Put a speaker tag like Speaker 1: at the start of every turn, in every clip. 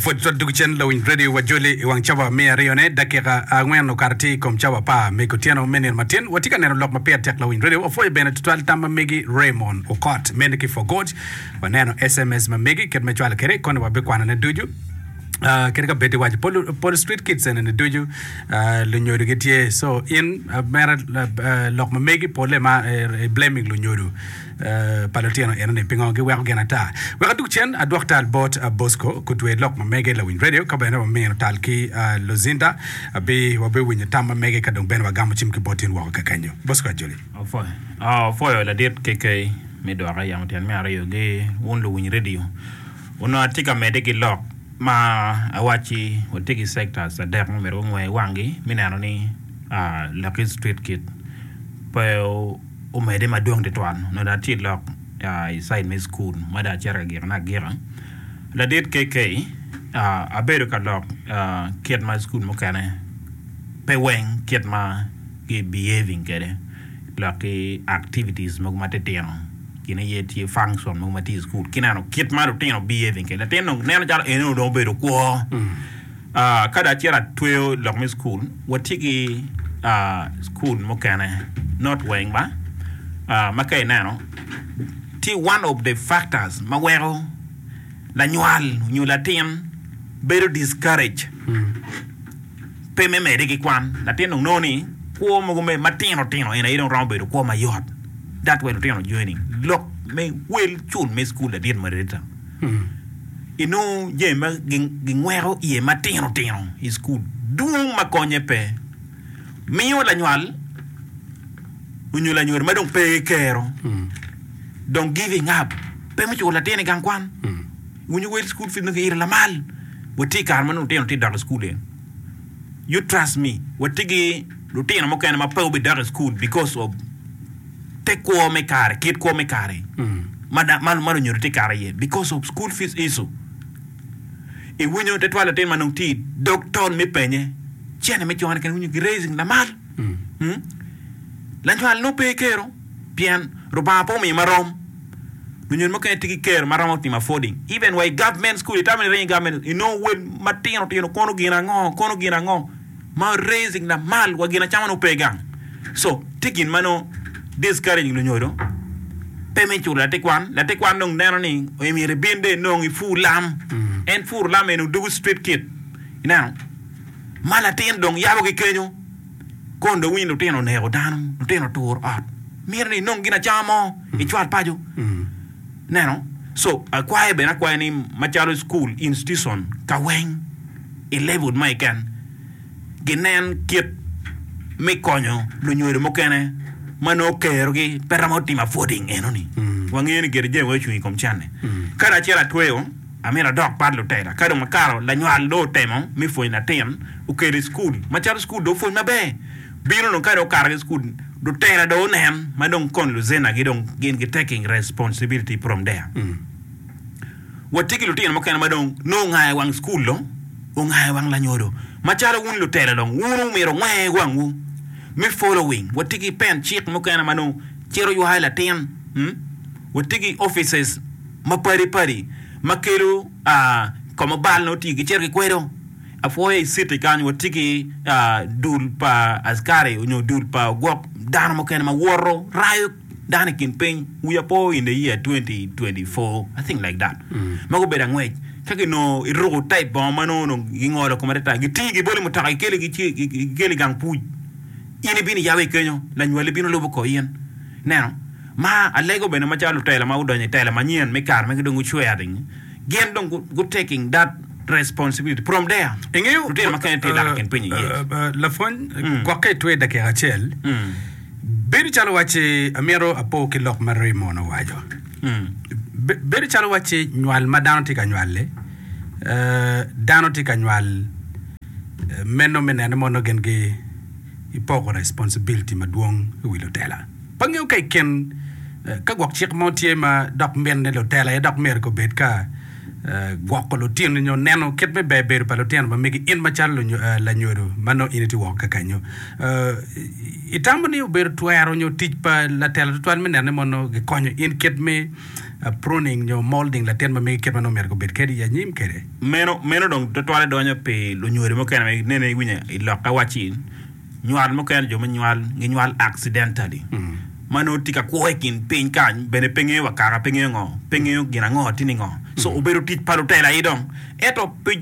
Speaker 1: Pwod twal dwogo cen lawiny radio wa joli i wang cawa me aryone dakika angwen okato tye i kom cawa apar me kutyeno me nino matin. Watye ka neno lok ma pire tek lawiny radio. Wapwoyo bene tutwal tam ma megi Raymond Okot mene ki for God. Waneno SMS ma megi kit me cwalo kwede koni wabikwanone ducu. Uh, kadi ka bed iwaco pol, pol street kids ene ni ducu uh, lunyodo gitye so in uh, mere uh, lok ma megi pole ma uh, blaming lunyodo uh, pa lutino eno ni pingo giweko gin ata. Wek adug cen adwok tal bot uh, Bosco kutwe lok ma mege lawiny radio ka bene wamino tal ki uh, Luzinda abi wabiwinyo tam ma mege ka dong bene wagamo cim ki bot in woko kakenyo. Bosco Ajoli.
Speaker 2: Opwoyo opwoyo ladit KK me dwoka yamo tyen me aryo gi wun luwiny radio. Onongo atye ka medde ki lok ma awacci watye ki sectors adek ma myero gungwe wanggi me neno ni Lucky Street Kid pe omedde madwong tutwal. Onongo dong atye i lok i cide me cukul ma dong acito ka gikone agika. Ladit KK abedo ka lok kit ma cukul mukene pe weng kit ma gi behaving kwede lok ki activities mogo matitino. Gin aye tye function mogo ma tye i cukul ki neno kit ma lutino behaving kwede. Latin dong neno calo eni dong obedo kwo. Ah, ka dong acito atweyo lok me cukul, watye ki ah, cukul mukene not weng ba, ah, ma ka ineno tye one of the factors ma weko lanywal nyo latin bedo discourage. Pe me medde ki kwan, latin dong nongo ni kwo mogo me matino tino en aye dong romo bedo kwo mayot. That why lutino joining lok me wel cul me cukul ladit moderator. Inongo jami ma gingweko iye matino tino i cukul dwong ma konye pe. Miyo lanywal onyo lanyodo ma dong pe ki kero dong giving up pe me culo latin i gang kwan. Winyo wel cukul fees nongo kiilo lamal. Watye i kare ma nongo lutino tye ka dok i cukul eni. You trust me, watye ki lutino mukene ma pe obidok i cukul because of te kwo me kare, kit kwo me kare ma ma lunyodo tye ka kato iye because of school fees issue. Iwinyo tutwal latin ma nongo tye i dog tol me penye, cene me cone kene iwinyo ki raising lamal. Lanywal nongo pe kero pien Rubanga pe omiyo marom. Lunyodo mukene tye ki kero ma romo timo affording even wa i government school itamo ni iringo i government inongo wel matino tino kono gin ango kono gin ango ma raising lamal wa gin acama nongo pe gang so tye gin ma nongo discouraging lunyodo pe me culo latin kwan latin kwan dong neno ni myero ibin dong inong ipur lam en puro lam eni odugo street kid ineno ma latin dong yabo ki kenyo. Kono dong winyo lutino oneko dano, lutino oturo ot, mito ni inong gin acama mo icwal paco. Ineno? So akwayo bene akwaya ni macalo cukul, institution ka weng i level mo keken ginen kit me konyo lunyodo mukene ma nongo kerogi pe romo timo affording enoni. Wangeyo ni gire jami weng ocung i kom cente. Ka dong acito atweyo. Amito adok pat lutela. Ka dong akato, lanywal dong otemo me pwonyo latin, okelo i cukul. Macalo cukul dong opwony maber, bino dong ka dong okato ki i cukul, lutela dong onen ma dong kon luzenagi dong gin gi taking responsibility from there. Watye ki lutino mukene ma dong nongo ongayo wang cukul dong, ongayo wang lanyodo. Macalo wun lutela dong, wun omyero wungwe wangwu me following. Watye ki pen cik mukene ma dong cito ywayo latin. Watye ki offices mapadi padi ma kelo ka ma bal nongo tye gicito gikwedo. Apwoyo i citi kany watye ki dul pa askari nyo dul pa ogwok dano mukene ma woto rayo dano i kin piny wiya po in the year 2024 I think like that ma gubedo angwec ka ginongo iruko type bongo ma nongo dong gingolo kome atata gitingi gibolo i mutoka gikeli gikeli i gang puc in ibino iyabo i kenyo lanywali bino lubo kor in ineno. Ma alego bene macalo lutela ma gudonyo i tela manyen me kare ma dong gucwering, gin dong gu taking that responsibility from there.
Speaker 1: Ingeyo,
Speaker 2: Lutino mukene tye dok i kin piny i yec.
Speaker 1: Lapwony, gwokke itwe dakika acel. Bedo calo wacci amito apo ki lok ma Raymond owaco. Bedo calo wacci nywal ma dano tye ka nywal-li, dano tye ka nywal meno me nene mono gin gipoko responsibility madwong i wi lutela. Pe angeyo ka i kin ka gwok cik mo tye ma dok mito ni lutela aye dok myero gubed ka. gwoko lutino nyo neno kit me ber bedo pa lutino ma megi in macalo lanyodo ma nongo in itye woko kakanyo. Itamo ni obedo twero nyo tic pa latela tutwal me neno ni mono gikonyo in kit me pruning nyo molding latin ma megi kit ma nongo myero gubed kwede i anyim kwede?
Speaker 2: Meno meno dong tutwale donyo pi lunyodo mukene ma inene iwinyo i lokke wacci Nywal mukene jo me nywal ginywal accidentally ma nongo tye ka kwo i kin piny kany bene pe ngeyo wa kaka pe ngeyo ngo pe ngeyo gin ango tye ni ngo so obedo tic pa lutela aye dong ento pi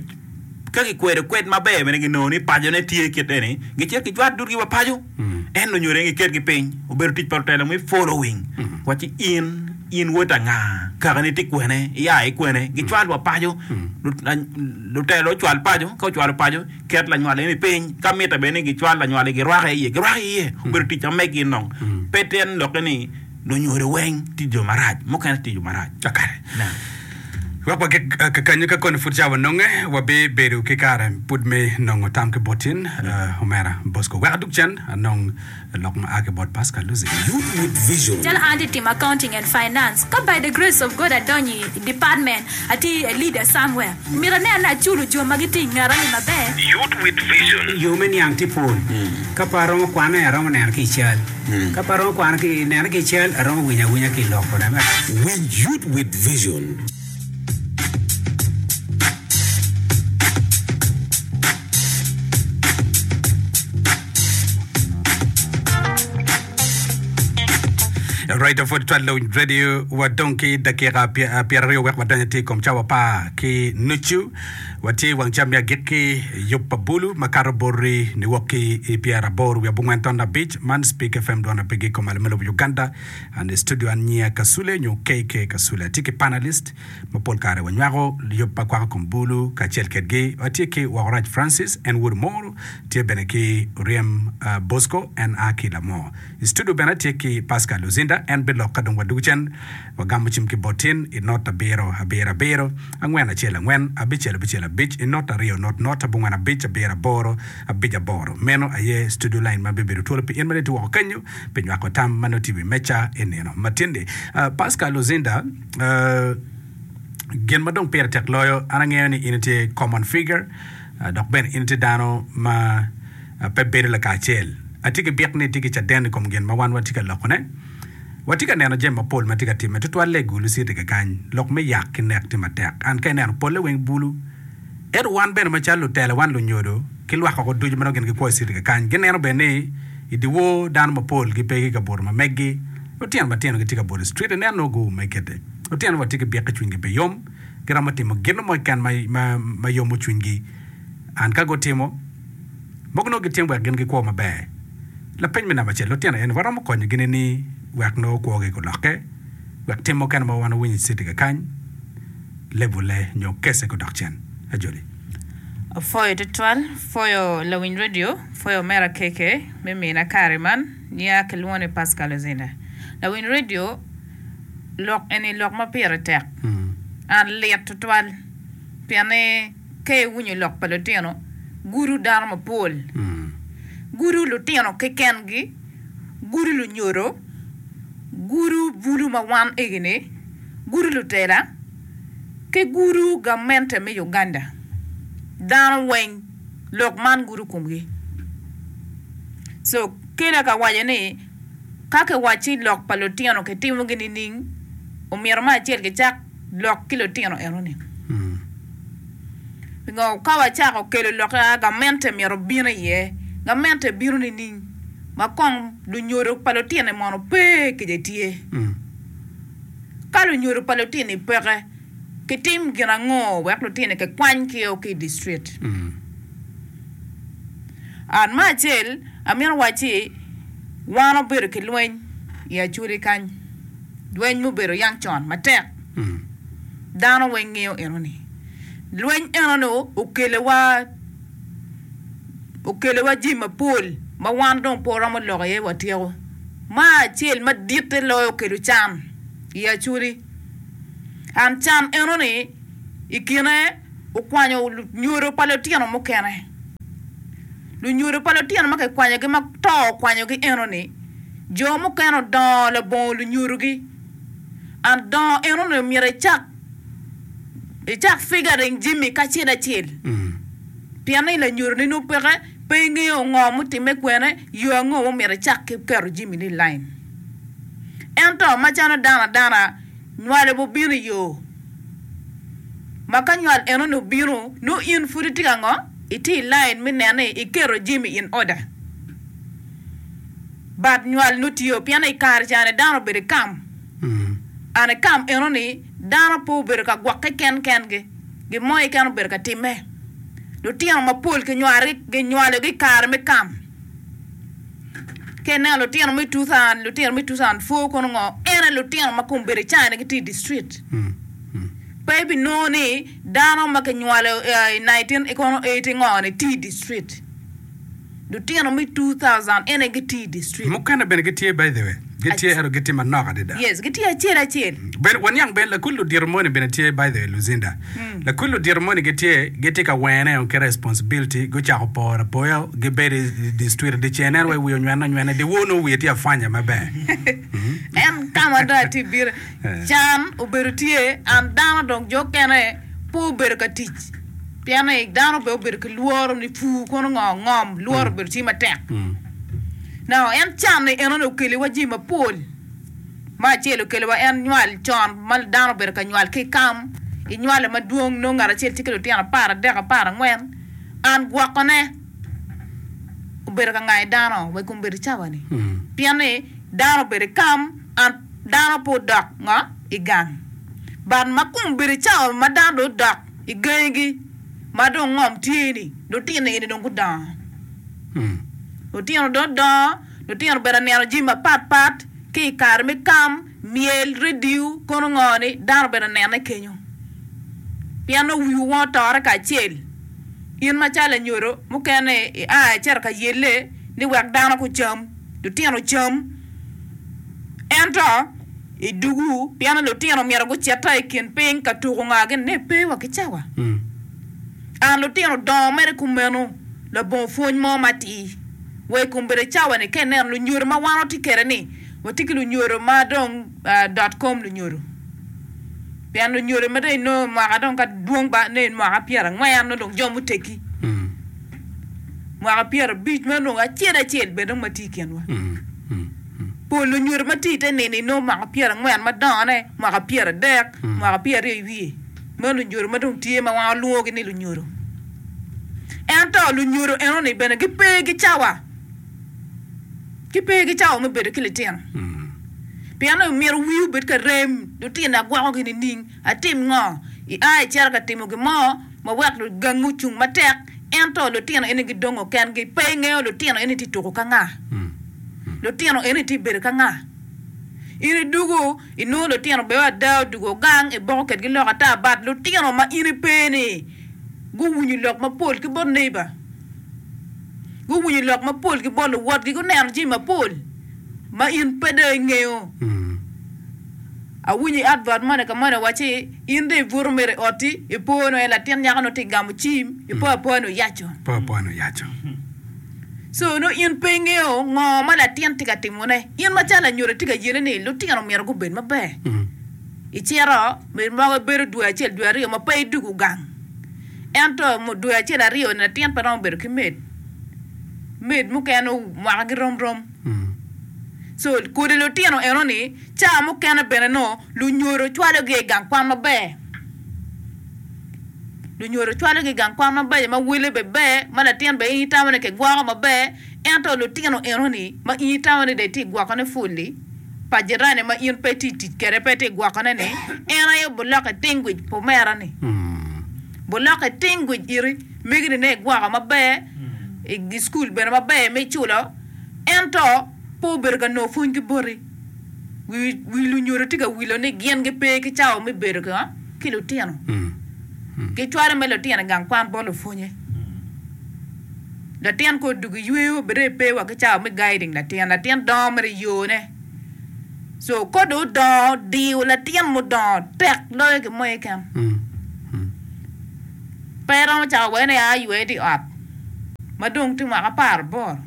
Speaker 2: ka kikwedo kwed maber bene ginongo ni pacone tye kit eni gicito gicwat dudgi wa paco en lunyodo aye giketgi piny obedo tic pa lutela me following wacci in in wod anga kakani tye kwene iya ki kwene gicwal wa paco lutela ocwal paco ka ocwalo paco Ket lanywal eni piny. Ka mitte bene ni gicwal lanywal-li girwake iye, girwake iye. Obedo tic ma meggi nong. Pe tyen lokke ni lunyodo weng tye jo marac, mukene tye jo marac.
Speaker 1: Kakare.
Speaker 2: Nen.
Speaker 1: Wek wagik kakanyo ka koni pud cawa nonge, wabibedo ki kare pud me nongo tam ki bot in, omera Bosco. Wek adug cen anong Lok ma a ki bot Pascal Luzi.
Speaker 3: Youth with Vision.
Speaker 4: Calo an atye timo accounting and finance ka by the grace of God adonyo i department atye a leader somewhere myero anen ni aculo jo ma gitye i ngeta ni maber.
Speaker 3: Youth with Vision.
Speaker 5: Yo me niang tye pol. Ka pe aromo kwane, aromo neno ki i cal. Ka pe aromo kwano ki nene ki i cal, aromo winyo awinya ki i lok kode.
Speaker 3: Winj Youth with Vision.
Speaker 1: Right of twal lawiny radio wadong ki dakika pyeraryo wek wadony atir i kom cawa apar ki nucu. Watye i wang cam me agikki yub pa bulu makato boti niwok ki i pyeraboro wiye abongwen ton abic man Speak FM dwon apigi i kom malo me lobo Uganda. An i studio an nyinga Kasule nyo KK Kasule. Atye ki panelist ma pol kare wanywako yub ma kwako kom bulu kacel kedgi. Watye ki Wokorac Francis, en wod Omoro, tye bene ki Oryem Bosco, en a ki Lamor. I studio bene atye ki Pascal Luzinda, en bilok ka dong wadwogo cen. Wagamo cim ki bot tin i not abiro abiro abiro, angwen acel angwen, abicel abicel abic, i not aryo not not, abongwen abic abiro aboro abic aboro. Meno aye studio line ma bibedo twolo pi in ma dong itye woko kenyo pi nywako tam ma nongo tye i wi meja i nino ma tin-ni. Pascal Luzinda, Gin ma dong pire tek loyo, an angeyo ni in itye common figure dok bene in itye dano ma pe bedo lakacel. Atye ki byek ni itye ki caden i kom gin ma wan watye ka lokone. Watye ka neno jami mapol ma tye ka timme, tutwalle i Gulu City kakany. Lok me yak ki nek tye matek. An ka ineno polle weng bulu. Ento wan bene macalo lutela, wan lunyodo, ki lwak woko ducu ma nongo gin gikwo i citi kakany, gineno bene ni i dyewor dano mapol gipe ki kabuto ma meggi. Lutino matino gitye ka buto i street, ineno nongo guume kite. Lutino watye ki byek ki cwinygi pe yom, giromo timo gin mo keken ma yomo cwinygi. And ka gutimo, mogo nongo gitimo wek gin gikwo maber. Lapeny me namba acel, lutino eni waromo konyogi nining wek nongo kwogi gulokke, wek tim mukene ma wan wawinyo i citi kakany lebule nyo kese gudok cen? Ajoli.
Speaker 6: Apwoyo tutwal, pwoyo lawiny radio, pwoyo omera KK me mina kare man, nia kilwongo ni Pascal Ozinda. Lawiny radio, lok eni lok ma pire tek, an lit tutwal pien ni ka iwinyo lok pa lutino gudo dano mapol, gudo lutino keken-gi, gudo lunyodo, gudo bulu ma wan egini, gudo lutela ki gudo gamente me Uganda. Dano weng lok man gudo komgi. So kela ka waco ni ka kiwacci lok pa lutino kitimogi nining, omyero me acel kicak lok ki lutino enoni. Pingo ka wacako kelo lok a gamente myero obin iye, gamente bino nining ma kong lunyodo pa lutino-ni mono pe kece tye? Ka lunyodo pa lutino-ni peke, kitim gin ango wek lutino-ni kikwany ki o ki i distrit? An me acel amito wacci wan wabedo ki lweny i Acholi kany. Lweny mubedo yang con matek dano weng ngeyo enoni. Lweny enoni okeliwa okeliwa jami mapol ma wan dong pe waromo lok iye watyeko. Ma acel maditte loyo okelo can i Acholi. And can enoni i kine okwanyo lunyodo pa lutino mukene. Lunyodo pa lutino ma kikwanyogi ma to okwanyogi enoni, jo mukene odongo labongo lunyodogi. And dongo enoni omyero ecak. icak figuring jami kacel acel pien ni lanyodo ni nongo peke pe ingeyo ngo mutimme kwene yo ango ma omyero icak ki keto jami ni i line. Ento macalo dano adana nywalo bene obino i yo ma ka nywal enoni obino nongo in pud itye ka ngo? Itye i line me neno ni iketo jami in order. But nywal nongo tye pien i kare ca-ni dano obedo i kam and i kam enoni dano pe obedo ka gwokke ken kengi gin mo keken obedo ka timme. Lutino mapol kinywalogi i kare me kam. Ka ineno lutino me 2000, lutino me 2004 kono ngo, en aye lutino ma kombeddi cani gitye i district. Pe ibinongo ni dano ma kinywalo i 19 kono 80 ngo ni tye i district. Lutino me 2000 en aye gitye i district.
Speaker 1: Mukene bene gitye by the way. Gitye ento gitye manok adada.
Speaker 6: Yes, gitye acel acel.
Speaker 1: Bene waniang bene lakul ludito moni bene tye by the way Luzinda. Lakul ludito moni gitye gitye ka wene o ki responsibility gucako poro apoya gibedo i district dyeceng nen wai wiye onywene anywena dyewor nongo wiye tye afwanya maber.
Speaker 6: En ka ma dong atye bino can obedo tye and dano dong jo okene pe obedo ka tic pien ni dano bene obedo ki lworo ni pur kono ngo ngom lworo obedo tye matek. Now en can ni enoni okeliwa jami mapol. Me acel okeliwa en nywal con ma dano obedo ka nywal ki i kam inywalo madwong nongo ngat acel tye ki lutino aparadek aparangwen an gwokone obedo ka ngayo dano wa i kom bedo cawa ni pien ni dano obedo i kam an dano pe odok ngo i gang but ma kom obedo i cawa ma dano dong odok i gangigi ma dong ngom tye ni lutino eni dong gudongo lutino dong odongo lutino obedo ka neno jami mapat pat ki i kare me kam, myel, redio, kono ngo ni dano obedo ka nene kenyo pien nongo wiwu weng otore kacel in macalo lanyodo mukene ia icito ka yelle ni wek dano gucam lutino ocam ento i dugu pien ni lutino myero gucita i kin piny ka tuko nga gin ni pe wa ki cawa an lutino dongo mere kumeno labongo pwony mo matir wa i kom bedo cawa ni ka ineno lunyodo ma wan watye kwede ni watye ki lunyodo ma dong dot kom lunyodo pien lunyodo ma dong inongo mwaka dong ka dwong ba nongo mwaka pyerangwen nongo dong jo muteggi mwaka pyerabic meno dong acel acel bene dong ma tye i kinwa. Pol lunyodo ma tye i te nino inongo mwaka pyerangwen madongone, mwaka pyeradek, mwaka pyeraryo i wiye. Meno lunyodo ma dong tye ma wan walwongogi ni lunyodo. Ento lunyodo enoni bene gipe ki cawa, gipe ki cawa me bedo ki litino. Pien ni myero wii obed ka rem, lutino agwokogi nining, atim ngo? Ia icito ka timo gin mo ma wek gangi ocung matek, ento lutino eni gidongo kengi, pe ingeyo lutino eni tye tuko ka nga. Lutino eni tye bedo ka nga? In idwogo inongo lutino bene ada odwogo gang iboko kedgi lok ata but lutino ma in ipe ni guwinyo lok mapol ki bot neighbor guwinyo lok mapol ki bot luwotgi guneno jami mapol ma in pe dong ingeyo. Awinyo i advert moni ka moni wacci in dong ibuto mere i otti ipo ni latin nyako nongo tye gamo cim ipo apoya ni oyaco. Co nongo in pe ingeyo ngo ma latin tye ka timone. In macalo lanyodo itye ka yele ni lutino myero gubed maber. Icito mogo ibedo dwe acel dwe aryo ma pe idwogo gang. Ento dwe acel aryo ni latin pe romo bedo ki maid. Maid mukene mwaka gi rom rom. Co kodi lutino eno ni ca mukene bene nongo lunyodo cwalo gi i gang kwan maber. Lunyodo cwalogi i gang kwan mabeco ma wele bene ber, ma latin bene in itamo ni kigwoko maber, ento lutino enoni ma in itamo ni dong itye ka gwokone pul-li pa jirani ma in pe itye ka tic kwede pe itye ka gwokone-ni, en aye obilokke tingwic pa omera-ni. Bilokke tingwic iri, megi-ni nongo igwoko maber, i cukul bene maber ma iculo, ento pe obedo ka nongo pwony ki boti. Wi lunyodo tye ka wilo ni gin gipe ki cawa me bedo ki lutino. Gicwalo me lutino i gang kwan bot lupwonye. Latin ka odwogo i yweyo bene pe wa ki cawa me guiding latin. Latin dongo mere i yone. So ka dong odongo diyo latin mudongo tek loyo gin mo keken. Pe romo cako wene ni aa ywe tye i ot ma dong tye mwaka aparaboro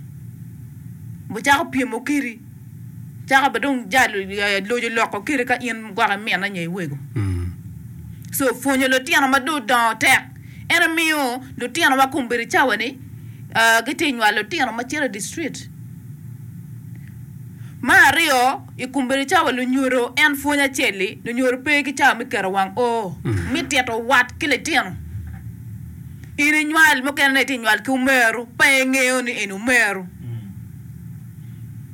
Speaker 6: wucako pyemo kedi. Cako bene dong jalo loco loko kede ka in gwok imine nyo iwego. So pwonyo lutino ma dong odongo tek. En aye miyo lutino ma kombeddi cawa ni gitye nywalo lutino ma cito i distrit. Me aryo, i kombeddi cawa lunyodo en pwony acel-li, lunyodo pe ki cawa me keto wang oo me tito wat ki litino. In inywal mukene ne itye nywal ki omeru pe ingeyo ni eni omeru.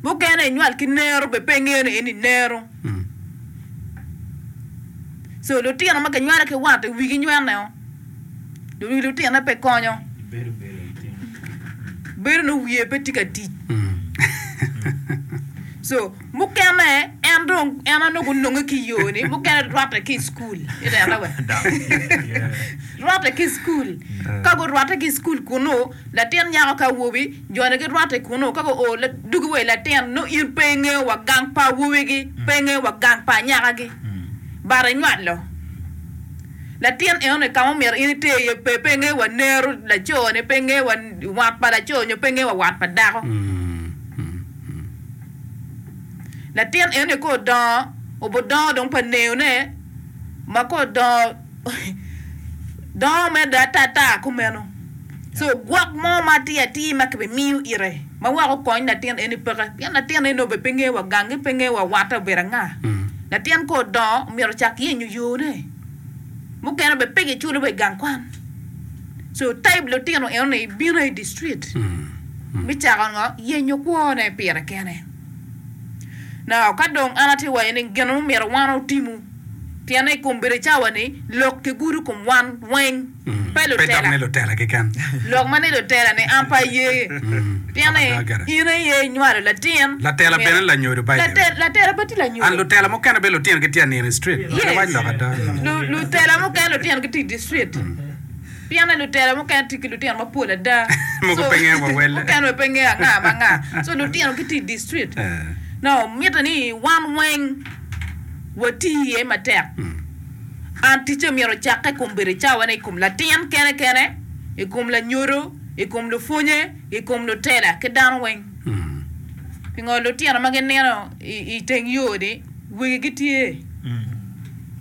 Speaker 6: Mukene inywal ki nero bene pe ingeyo ni eni nero. So lutino ma kinywalo ki wat i wigi nywene o, wi lutine pe konyo. Bedo nongo wiye pe tye ka tic. So mukene en dong en aye nongo gunonge ki i yo ni mukene rwatte ki i cukul ineno we rwatte ki i cukul ka gurwatte ki i cukul kunu latin nyako ki awobi joni girwatte kunu ka guo dugi wa i latin nongo in pe ingeyo wa gang pa awobigi pe ingeyo wa gang pa anyakagi but inywalo Latin enoni ka ma omyero in iter iye pe, pe ingeyo wa nero laco-ni, pe ingeyo wa wat pa laco nyo pe ingeyo wa wat pa dako. Latin enoni ka odongo, obodongo dong pa neyone ma ka odongo dongo medde ata ata kumeno. So gwok mo ma atir atir ma kibimiyo ite ma wek okony latin eni peke pien latin eni obedo pe ngeyo wa gangi pe ngeyo wa watte obedo anga. Latin ka odongo myero ocak yenyo yone mukene bene pe kiculo wa i gang kwan. So type lutino enoni bino i district me cako ngo yenyo kwone pire kene. Now ka dong an atye waco ni gin ma omyero wan otimu pien i kom bedo cawa ni lok kigudo kom wan weng. Pe
Speaker 1: Pe dok
Speaker 6: lutela.
Speaker 1: ni lutela keken.
Speaker 6: Lok ma ni lutela ni an pe aye. Pien ni in aye inywalo latin.
Speaker 1: Latela bene lanyodo by the way.
Speaker 6: Latela pe tye lanyodo.
Speaker 1: And lutela mukene bene lutino gitye anino i street.
Speaker 6: Yes.
Speaker 1: Wac lok ada.
Speaker 6: Lutela mukene lutino gitye i district. Pien ni lutela mukene tye ki lutino mapol ada.
Speaker 1: Mogo pe ngeyo wa welle.
Speaker 6: Mukene bene pe ngeyo anga ma anga. So lutino gitye i district. Now mitte ni wan weng wati iye matek. An ticce myero ocakke i kom bedo i cawane i kom latin kene kene, i kom lanyodo, i kom lupwonye, i kom lutela ki dano weng. Pingo lutino ma ginino i teng yo-ni wegi gitye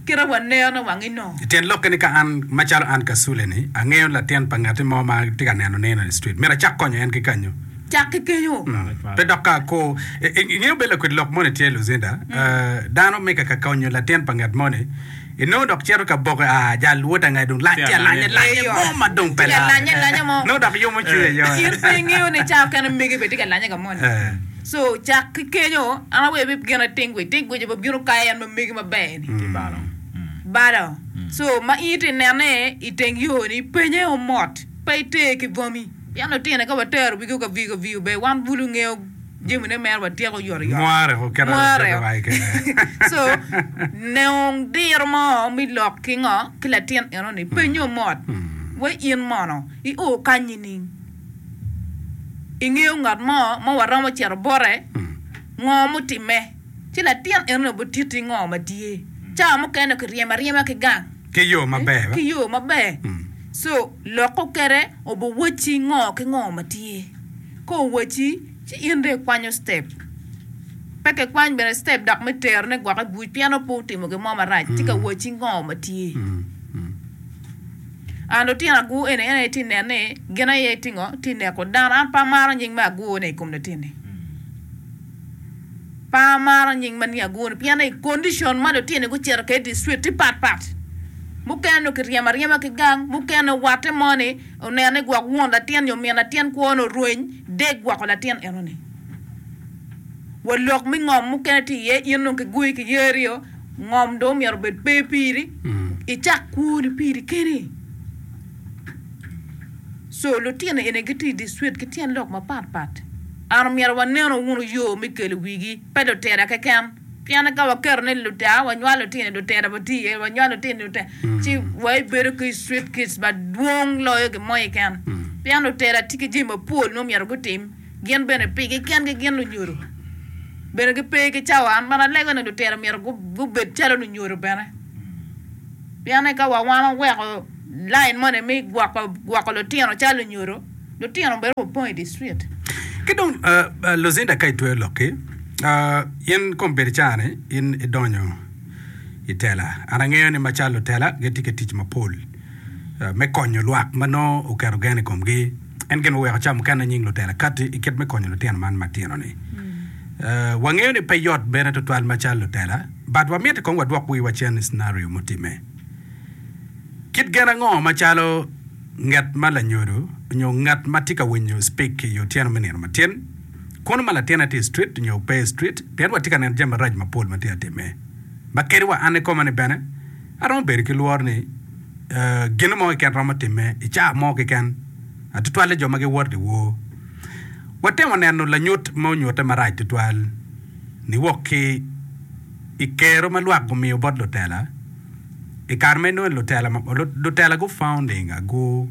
Speaker 6: kite waneno wangi nongo?
Speaker 1: Tyen lokke ni ka an macalo an Kasule-ni angeyo latin pa ngatti mo ma tye ka neno nino i street, myero acak konyo en ki kanyo.
Speaker 6: Cak ki kenyo.
Speaker 1: Pe dok ka akur. Ingeyo bene lakwed lok moni tye Lucinda, dano me ka ka konyo latin pa ngat moni, inongo dok cito ka boke, ah jal wod anga dong lac tye alanya lanya mo ma dong pe
Speaker 6: lare.
Speaker 1: Nongo dok yomo cwinye ayoya.
Speaker 6: In pe ingeyo ni ca okene megi bene tye ka lanye ka moni. So cak ki kenyo, an aweyo bi gin atingwic, tingwic aye bino kayo en ma megi maber ni. Balo. So ma in itye nene i teng yo ni penye o mot, pe iter ki bwami. Pien lutino ka watero wigi ka viyo ka viyo ber wan bulu ngeyo jamine mere watyeko oyotoyot.
Speaker 1: Mware ko kite
Speaker 6: Mware.
Speaker 1: kite wa kene.
Speaker 6: So nong diro mo mi lok ki ngo ki latin eno ni penyo mot wa in mono i o kany nining? Ingeyo ngat mo ma waromo cito bote ngo mutime ci latin eno ni obititti ngo ma tye. Cawa mukene kiryemo aryema ki gang.
Speaker 1: Ki yo maber.
Speaker 6: Ki yo maber. So loko kede obiwacci ngo ki ngo ma tye. Ka owacci, ci in dong ikwanyo step. Pe kikwany bene step dok me terone gwok i buc pien nongo pe otimo gin mo marac, tye ka wacci ngo ma tye. And lutino agur eni en aye tye nen ni gin aye tye ngo tye neko dano. An pe amaro nying me agur ni i kom latinni. Pe amaro nying ma ni agur ni pien ni condition ma lutino gucito kwede i district tye pat pat. Mukene nongo kiryemo aryema ki gang, mukene watte mo ni oneno ni gwok won latin nyo min latin kwone orweny dek gwoko latin eno ni. Wa lok me ngom mukene tye iye in dong kigoyi ki yeri o, ngom dong myero obed pe piri, icak kwoni piri keni. So lutino eni gitye i district ki tyen lok mapat pat. An omyero wanenu wunu yo me kelo wigi, pe lutela keken. Pien ka waketo ni lutela, wanywalo lutino lutela watye iye, wanywalo lutino lutela, ci wabibedo ki street kids madwong loyo gin mo keken. Pien lutela tye ki jami mapol ma myero gutim, gin bene pigi kengi gin lunyodo bene gipe ki cawa. An bene alego ni lutela myero gubed calo lunyodo bene. Pien ka wa wan waweko lain moni me gwoko lutino calo lunyodo, lutino bedo wapong i district.
Speaker 1: Ki dong Lucinda ka itweyo lokki, in kombeddi caa-ni in idonyo. i tela. An angeyo ni macalo lutela gitye ki tic mapol me konyo lwak ma nongo oketo gen i komgi. En gin muweko ca mukene nying lutela katti i kit me konyo lutino man matino-ni. Wangeyo ni pe yot bene tutwal macalo lutela, but wamito kong wadwok wiwa cen i scenario mutimme. Kit gen ango macalo ngat ma lanyodo nyo ngat ma tye ka winyo speak i otyeno me nino matin, kono ma latinne tye i street nyo pe i street, pien watye ka neno jami maraco mapol ma tye ka timme. Ma kadi wa an ikoma ni bene, aromo bedo ki lworo ni gin mo keken romo timme i caa mo keken, tutwalle jo ma giwoto dyewor. Watemo neno lanyut ma onyutte marac tutwal niwok ki i kero ma lwak gumiyo bot lutela i kare ma inongo ni lutela lutela gu founding agu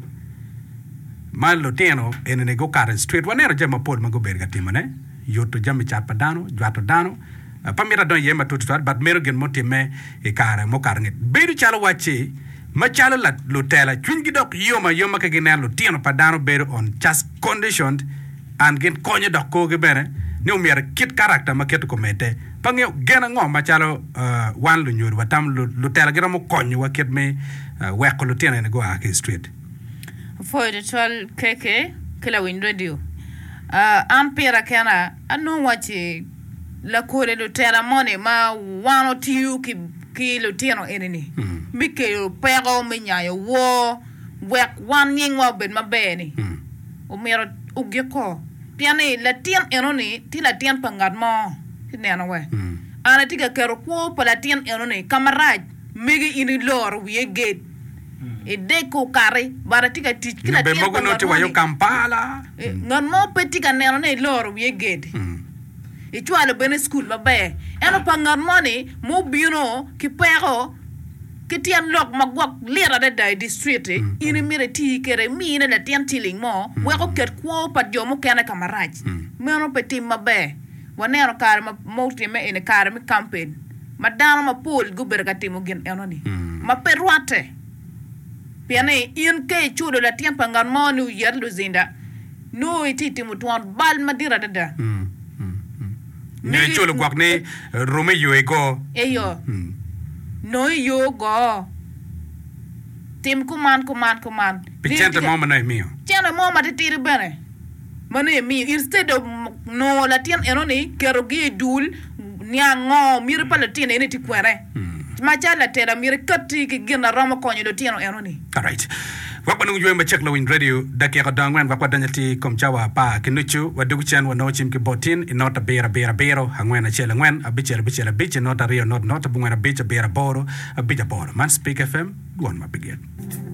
Speaker 1: ma lutino enini gukato i street waneno jami mapol ma gubedo ka timone yuto jami cat pa dano jwato dano Pe amito adonyo iye matut tutwal, but meno gin mutimme i kare mukato angec. Bedo calo wacci, macalo lutela, cwinygi dok yom ayoma ka gineno lutino pa dano bedo on just conditioned and gin konyo dok korgi bene ni omyero kit character ma keto komedde. Pe angeyo gen ango macalo wan lunyodo watamo lutela giromo konyowa kit me weko lutino eni gua ki i street.
Speaker 6: Apwoyo tutwal KK ki lawiny radio. An pira kena anongo wacci lakodi lutela moni ma wan otiyo ki lutino eni-ni me kelo peko me nyayo wor wek wan nyingwa obed maber-ni omyero ogikko pien ni latin enoni tye latin pa ngat mo ci neno we an atye ka keto kwo pa latin enoni ka marac megi in iloro wiye gate idek okati but atye ka tic ki latin pa ngat moni ngat mo pe tye ka neno ni iloro wiye gate. Icwalo bene i cukul maber. Ento pa ngat moni mubino ki peko ki tyen lok ma gwok lit adada i distrit-ti, in imito iti kwede, imine latin ciling mo wek oket kwo pa jo mukene ka marac. Meno pe tim maber. Waneno kare ma otimme eni, kare me kampen, ma dano mapol gubedo ka timo gin enoni ma pe rwatte. Pien ni in ka iculo latin pa ngat mo ni oyet luzinda, Nongo itye ka timo twon bal madit adada.
Speaker 1: Nyo iculo gwok ni rum i yo igo.
Speaker 6: Eyo. Nongo i yo ogo. Tim kuman, kuman, kuman.
Speaker 1: Pi cente mo ma nongo imiyo.
Speaker 6: Cente mo matitidi bene ma nongo imiyo. Instead of nongo latin enoni ketogi i dul niang ngo miti pa latin eni tye kwene. Macalo latela myero ikatti ki gin na romo konyo lutino enoni.
Speaker 1: Alright. Wek wanong yweyo macek lawiny radio dakika odong angwen wek wadony atir i kom cawa apar ki nucu. Wadwogo cen wanongo cim ki bot tin i not abiro abiro abiro angwen acel angwen abicel abicel abic i not aryo not not abongwen abic abiro aboro abic aboro. Man Speak FM, dwon ma pe gik.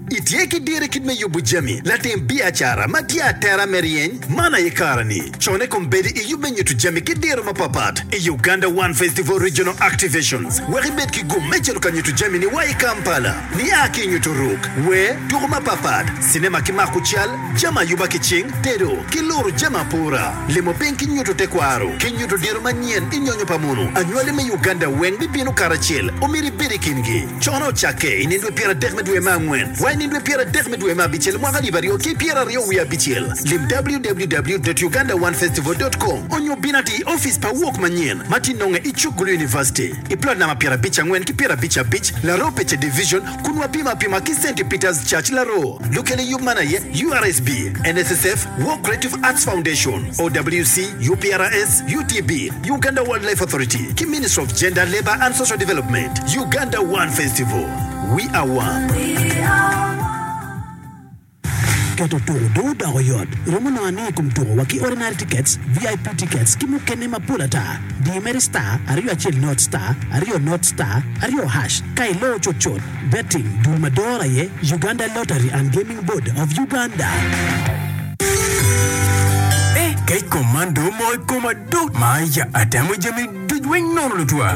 Speaker 7: Itye ki diro i kit me yubo jami, latim biacara ma tye atera me ryeny? Man aye kareni! Cone kombeddi i yub me nyuto jami ki diro mapapat i Uganda One Festival Regional Activations wek ibed ki gum me cito ka nyuto jamini wa i Kampala. Nia ki i nyuto ruk, wer, tuko mapapat, cinema ki mako cal, jami ayuba ki cing, tedo, ki luro jami apura, limo piny ki nyuto tekwaro, ki nyuto diro manyen i nyonyo pa munu. Anywali me Uganda weng bibino karacel, omyero ibed i kingi. Cone ocakke i nindwe pyeradek me dwe me angwen wa i nindwe pyeradek me dwe me abicel mwaka alip aryo ki pyeraryo wiye abicel. Lim www dot ugandaonefestival dot com onyo bin atir i opic pa Wok manyen ma tye nonge i cuk Gulu University i plot namba pyerabic angwen ki pyerabic abic, Laroo Pece Division kun wapimo apima ki Centi Peters Church Laroo. Lukel i yub man aye URSB, NSSF, Wok Creative Arts Foundation, OWC, UPRS, UTB, Uganda Wildlife Authority ki Ministry of Gender, Labour and Social Development, Uganda One Festival, We are one.
Speaker 8: Keto tuko dong odoko yot. Iromo nongo aniang i kom tuko wa ki ordinary tickets, VIP tickets, ki mukene mapol ata. Di mere star aryo acel not star aryo not star aryo hash ka iloo cutcut. Betting, dul ma doro aye Uganda Lottery and Gaming Board of Uganda.
Speaker 9: Eh, kec kom man dong omoko i koma do ma ya atemo jami duc weng nono lutwa.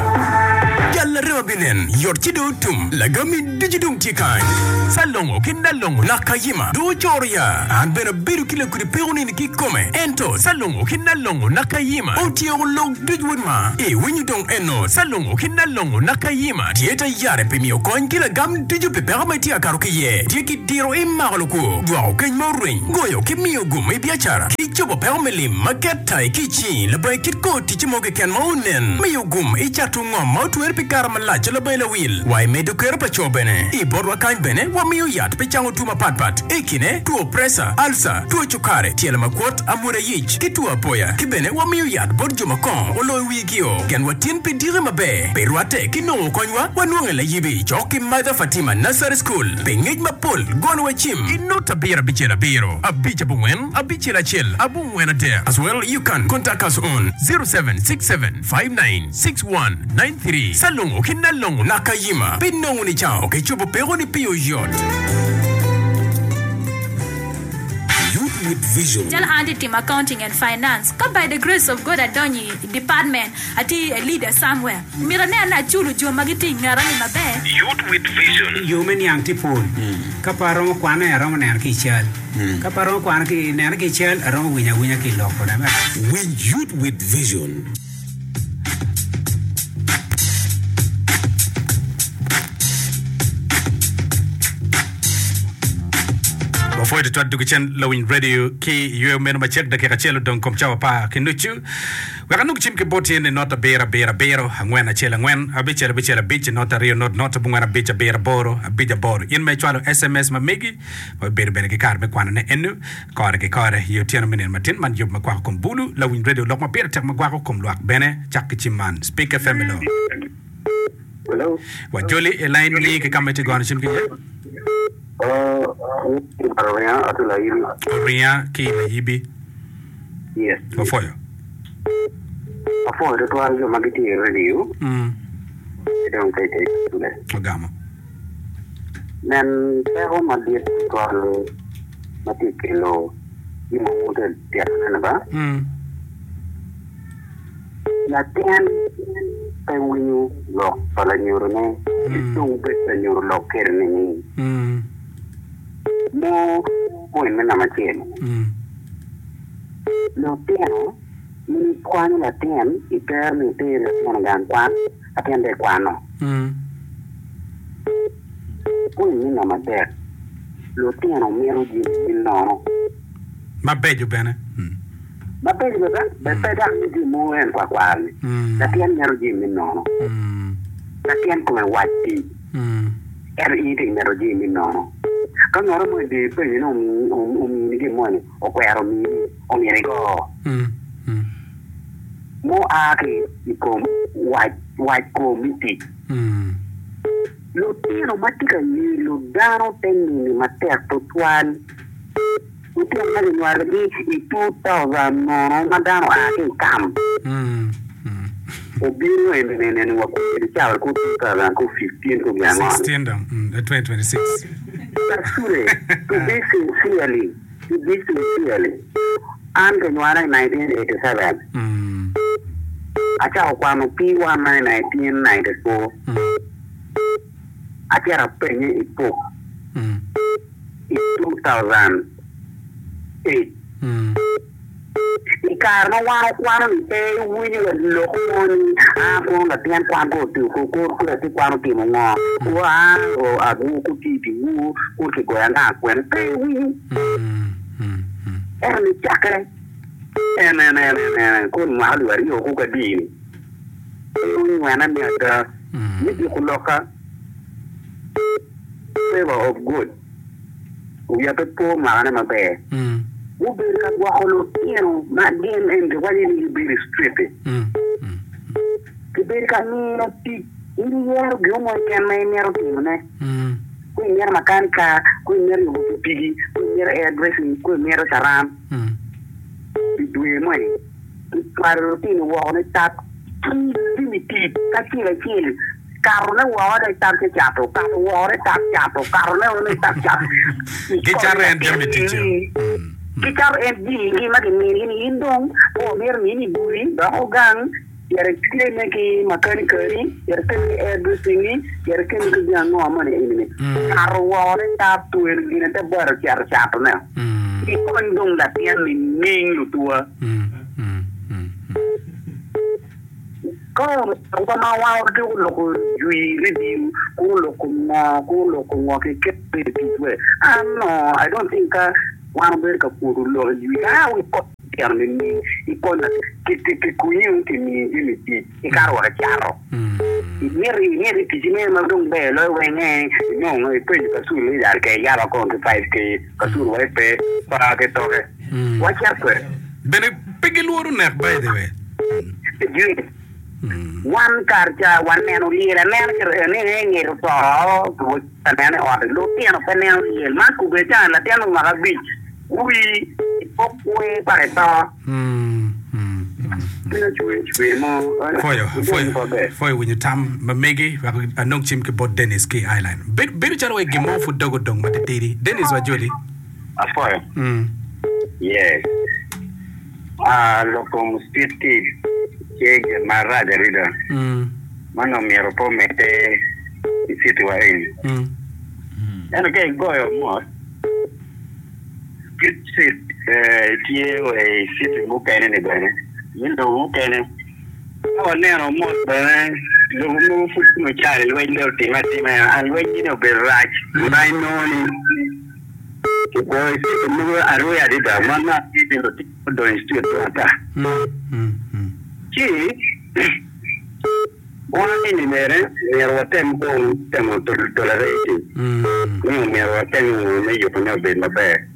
Speaker 9: Jal larema binen yot ci dong otum, lagami ducu dong tye kany. Salongo ki Nalongo Nakayima dong ocoro ya. An bene abedo ki lakudi peko nini kikome, ento Salongo ki Nalongo Nakayima otyeko lok duc wod ma. Iwinyo dong eno, Salongo ki Nalongo Nakayima tye te yare pi miyo kony ki lagam ducu pi peko ma itye ka kato ki iye. Tye ki diro imako lukwo, dwoko keny ma orweny, goyo ki miyo gum i biacara, ki cobo peko me lim ma ket tai ki i cingi labongo kit kor ticce mo keken ma onen, miyo gum i cato ngom ma otwere pi. pi kare malac labongo lawil wa i medo kero pa co bene. I botwa kany bene wamiyo yat pi cango two mapatpat i kine two presa, alca, two cukari, tyelo makwot, amwoda yic, ki two apoya. Ki bene wamiyo yat bot jo ma kongo oloyo wigio. Genwa tin pi diki maber. Pi rwatte ki nongo konywa, wanwonge layibi cok ki Mother Fatima Nursery School. Pi ngec mapol, gonwa cim i not abiro abicel abiro abic abongwen abicel acel abongwen adek as well you can contact us on 0767596193. Salongo ki Nalongo Nakayima pi nongo nicango ki cobo pekoni pi oyot.
Speaker 3: Youth with Vision.
Speaker 4: Calo an atye timo accounting and finance ka by the grace of God adonyo i department atye a leader somewhere myero anen ni aculo jo ma gitye i ngeta ni maber.
Speaker 3: Youth with Vision.
Speaker 5: Yo me niang tye pol. Ka pe aromo kwane, aromo neno ki i cal. Ka pe aromo kwano ki nene ki i cal, aromo winyo awinya ki i lok kode.
Speaker 3: Winy Youth with Vision.
Speaker 1: Wapwoyo tutwal dwogo cen lawiny radio ki i yweyo meno macek dakika acel odong kom cawa apar ki nucu. Wek anong cim ki boti ni not abiro abiro abiro angwen acel angwen abicel abicel abic not aryo not not abongwen abic abiro aboro abic aboro. In ma icwalo SMS ma megi wabibedo bene ki kare me kwanone enu kore ki kore i otyeno me nino matin man yub ma kwako kom bulu lawiny radio lok ma pire tek ma gwako kom lwak bene cak ki cim man Speak FM hello.
Speaker 10: Hello.
Speaker 1: Wajoli i line ni ki ka ma itye gono cim ki iye.
Speaker 10: Oringa atye layibi.
Speaker 1: Oringa ki layibi.
Speaker 10: Yes.
Speaker 1: Wapwoyo.
Speaker 10: Apwoyo tutwal jo ma gitye i radio ki dong ka i cule.
Speaker 1: Ogamo.
Speaker 10: Nen peko madit tutwal ma tye kelo gin ma wun wutye ka titone-ni ba. Latin pe winyo lok pa lanyodone ci dong bed ka nyuto lok kwede nining? Mo point me namba acel, lutino in ikwanyo latin itero ni iter latin i gang kwan latin dong ekwano. Point me namba adek, lutino mito jami me nono.
Speaker 1: Mabeco bene.
Speaker 10: Mabeco bene, bed pe dok ni jami mogo en kwakwar-ni. Latin mito jami me nono. Latin kome wac tic, ento in itye ka mito jami me nono. Ka ngat mo odiyo ipenye ni omini gin moni, okwero mini, omyero igo. Mua ki i kom wac kom me tic. Lutino ma tye ka yelo dano te nini matek tutwal. Lutino ma kinywalogi i 2000 nono ma dano oa ki i kam obino eni wa kwede cawa ku 2015 ku gin ango
Speaker 1: ni. 2026.
Speaker 10: Kasule, to be sincerely, to be sincerely, an kinywala i 1987, acako kwano P1 na i 1994, acito apenye i puk. I 2008, i kare ma wan okwano-ni pe iwinyo wa lok mo ni aa kono latin kwan ko ko latin kwan otimo ngo, ko aa agwo ko tye i dyewor ko kigoyo anga kwene pe iwinyo. Ento nicakke en en en en kono mwaka alip aryo ko kadi-ni pe onywene me ada me juko lokka. Favor of God wiya pe po makane maber. Gubedo ka gwoko lutino ma gin eni kiwaco ni gibedo i street-ti. Kibedo ka miyo tic, in iyero gin mo keken ma imito timone. Ka imito makanika, ka imito yubo pikipiki, ka imito hair dressing, ka imito caran. Pi dwe moni, kicwalo lutino woko ni tap ki jami tic kacel acel. Katone woko ni tab ci cato, kato woko ni tab cato, katone woko ni tab cato.
Speaker 1: Gicato en jami ticce.
Speaker 10: Gicato en jamigi ma giminigi ni in dong pe wamito mini gudi dok ogang, cit ikemme ki makanikani, cit ikemme ki hairdressing-ngi, cit ikemme ki gin ango moni eni-ni. Kato woko ni tab twero gine te bot ocito catone. Ikony dong latin nining lutuwa? Ka onongo ma wan watye loko jwi review ku loko ngo ku loko ngo keken bedo i tic we an no I don't think ka wan wabedo ka pwodo lok i jwi ka wi kony tyen nining i kony ki kunyu ki miyi jami tic ikato wa ki cato. Imito imito i ticci me ma dong ber loyo weng ee inongo ipenyo kacul ni yal ke iyaba kong ki 5K kacul wai pe pa ki toke. Wacit kwede.
Speaker 1: Bene pe gilworo nek by the way.
Speaker 10: Jwi. Wan kar ca waneno lyel anena ki ni en nget oto anena i ot lutino pe neno lyel man kube ca latin me mwaka abic wi okwe paka ito. Cwinya cwer cwer mo.
Speaker 1: Pwoyo, pwoyo, pwoyo winyo tam ma megi wek anong cim ki bot Dennis ki i Ireland. Bedo, bedo calo wai gin mo pud dog odong matitidi. Dennis wa joli.
Speaker 10: Apwoyo. Yes. Ah, lok kom street kid tye gin marac adada. Man omyero pe omedde i city wa eni. Ento ka igoyo mot, Street kid tye wa i city mukene ni bene, me lobo mukene. Ka waneno mot bene, lobo mogo pud kome calo lweny dong otimme atima, lweny ni obedo rac ma inongo ni Kikwoyo i citi mogo aruya adada ma ngat tye lutino odonyo i cit ata. Ci wan eni bene myero watem kong temo tolerating ni omyero watem me yubone obed maber.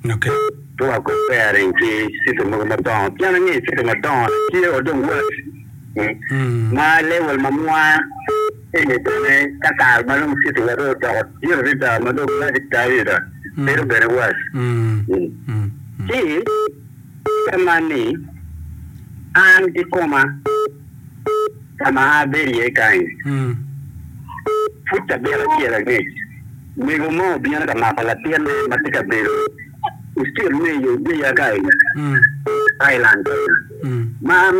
Speaker 10: Pe wa comparing ki citi mogo madongo pien angeyo citi madongo tye wa dong worse ma level ma mwa Eni bene ka kare ma dong citi wa dong odoko dit adada ma dong rac adada bedo bene worse. Ci ka man ni an kikoma ka ma abedo iye kany pud cabit acel angec mego mo obino ka mako latinne ma tye ka bedo i street me i Odeya ka eni Island ma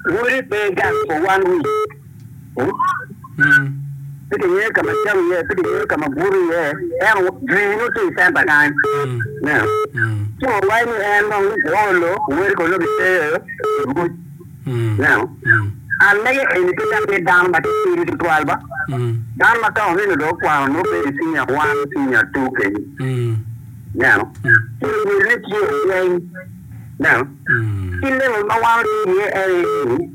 Speaker 10: wode pe gang for one week. Pe kingeyo ka ma cam iye, pe kingeyo ka ma buto iye, ento jwi nongo tye i centa kany. Ineno? Ci wawaco ni en dong oolo, wode kono nongo giteyo i buc. Ineno? An mege eni pe dok ni dano ma titidi tutwal ba. Dano ma ka oneno dong okwano nongo bedo i senior one, senior two kenyo. Ineno? Ci wodine tye weng. Ineno? Ki level ma wan watye iye en aye ni,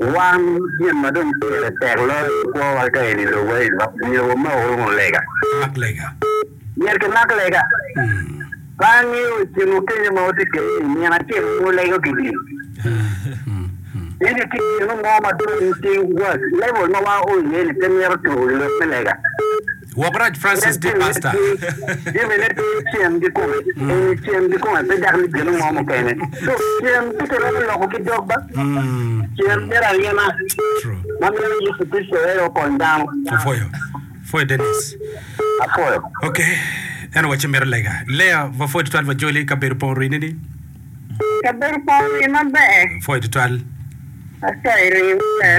Speaker 10: Wan gin ma dong pire tek loyo i kwowa ka eni lobo eni myero wamak wunu lega.
Speaker 1: Mak lega.
Speaker 10: Myero kimak lega. Pe angeyo i kin okenyo ma watye kwede ni nino acel pe wulego ki gin. Ento tye gin mo ma dong tye worse, level ma wao iye ni pe mito tuko i lok me lega.
Speaker 1: Wok rac Francis tye pastor.
Speaker 10: Jamine pe cen kikome, eni cen kikome pe dok ni gino mo mukene. So cen pe kiromo loko ki dog ba. Cen myero aryema ma mito Yecu Kricito aye okony dano.
Speaker 1: Apwoyo. Apwoyo Dennis.
Speaker 10: Apwoyo.
Speaker 1: Ok. En owacci mito lega. Lea, wapwoyo tutwal wajoli kabedo pong orini ni.
Speaker 11: Kabedo pong orini maber.
Speaker 1: Apwoyo tutwal.
Speaker 11: Apwoyo riwwa.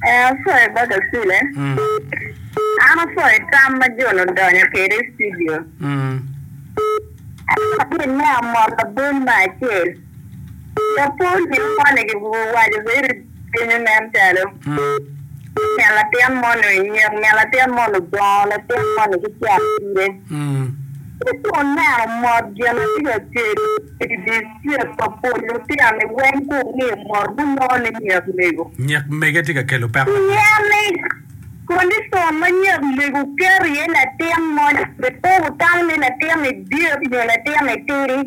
Speaker 11: Ee, apwoyo bot Acule. An apwoyo tam ma John odonyo kwede i studio. Ento gin me amot labol me acel, lapwony gin moni giwaco bedo kenyo nen calo min latin moni onyek, min latin moni odongo, latin moni ki cat pire. Ci ka wuneno mot gin ma tye ka kelo i dictrwik pa pol lutino-ni weng ka wungiyo mot gunongo ni nyek mego.
Speaker 1: Nyek mege tye ka kelo peko madit.
Speaker 11: Pien ni kondicon ma nyek mego keto iye latin moni pe wutamo ni latin-ni dit nyo latin-ni tidi.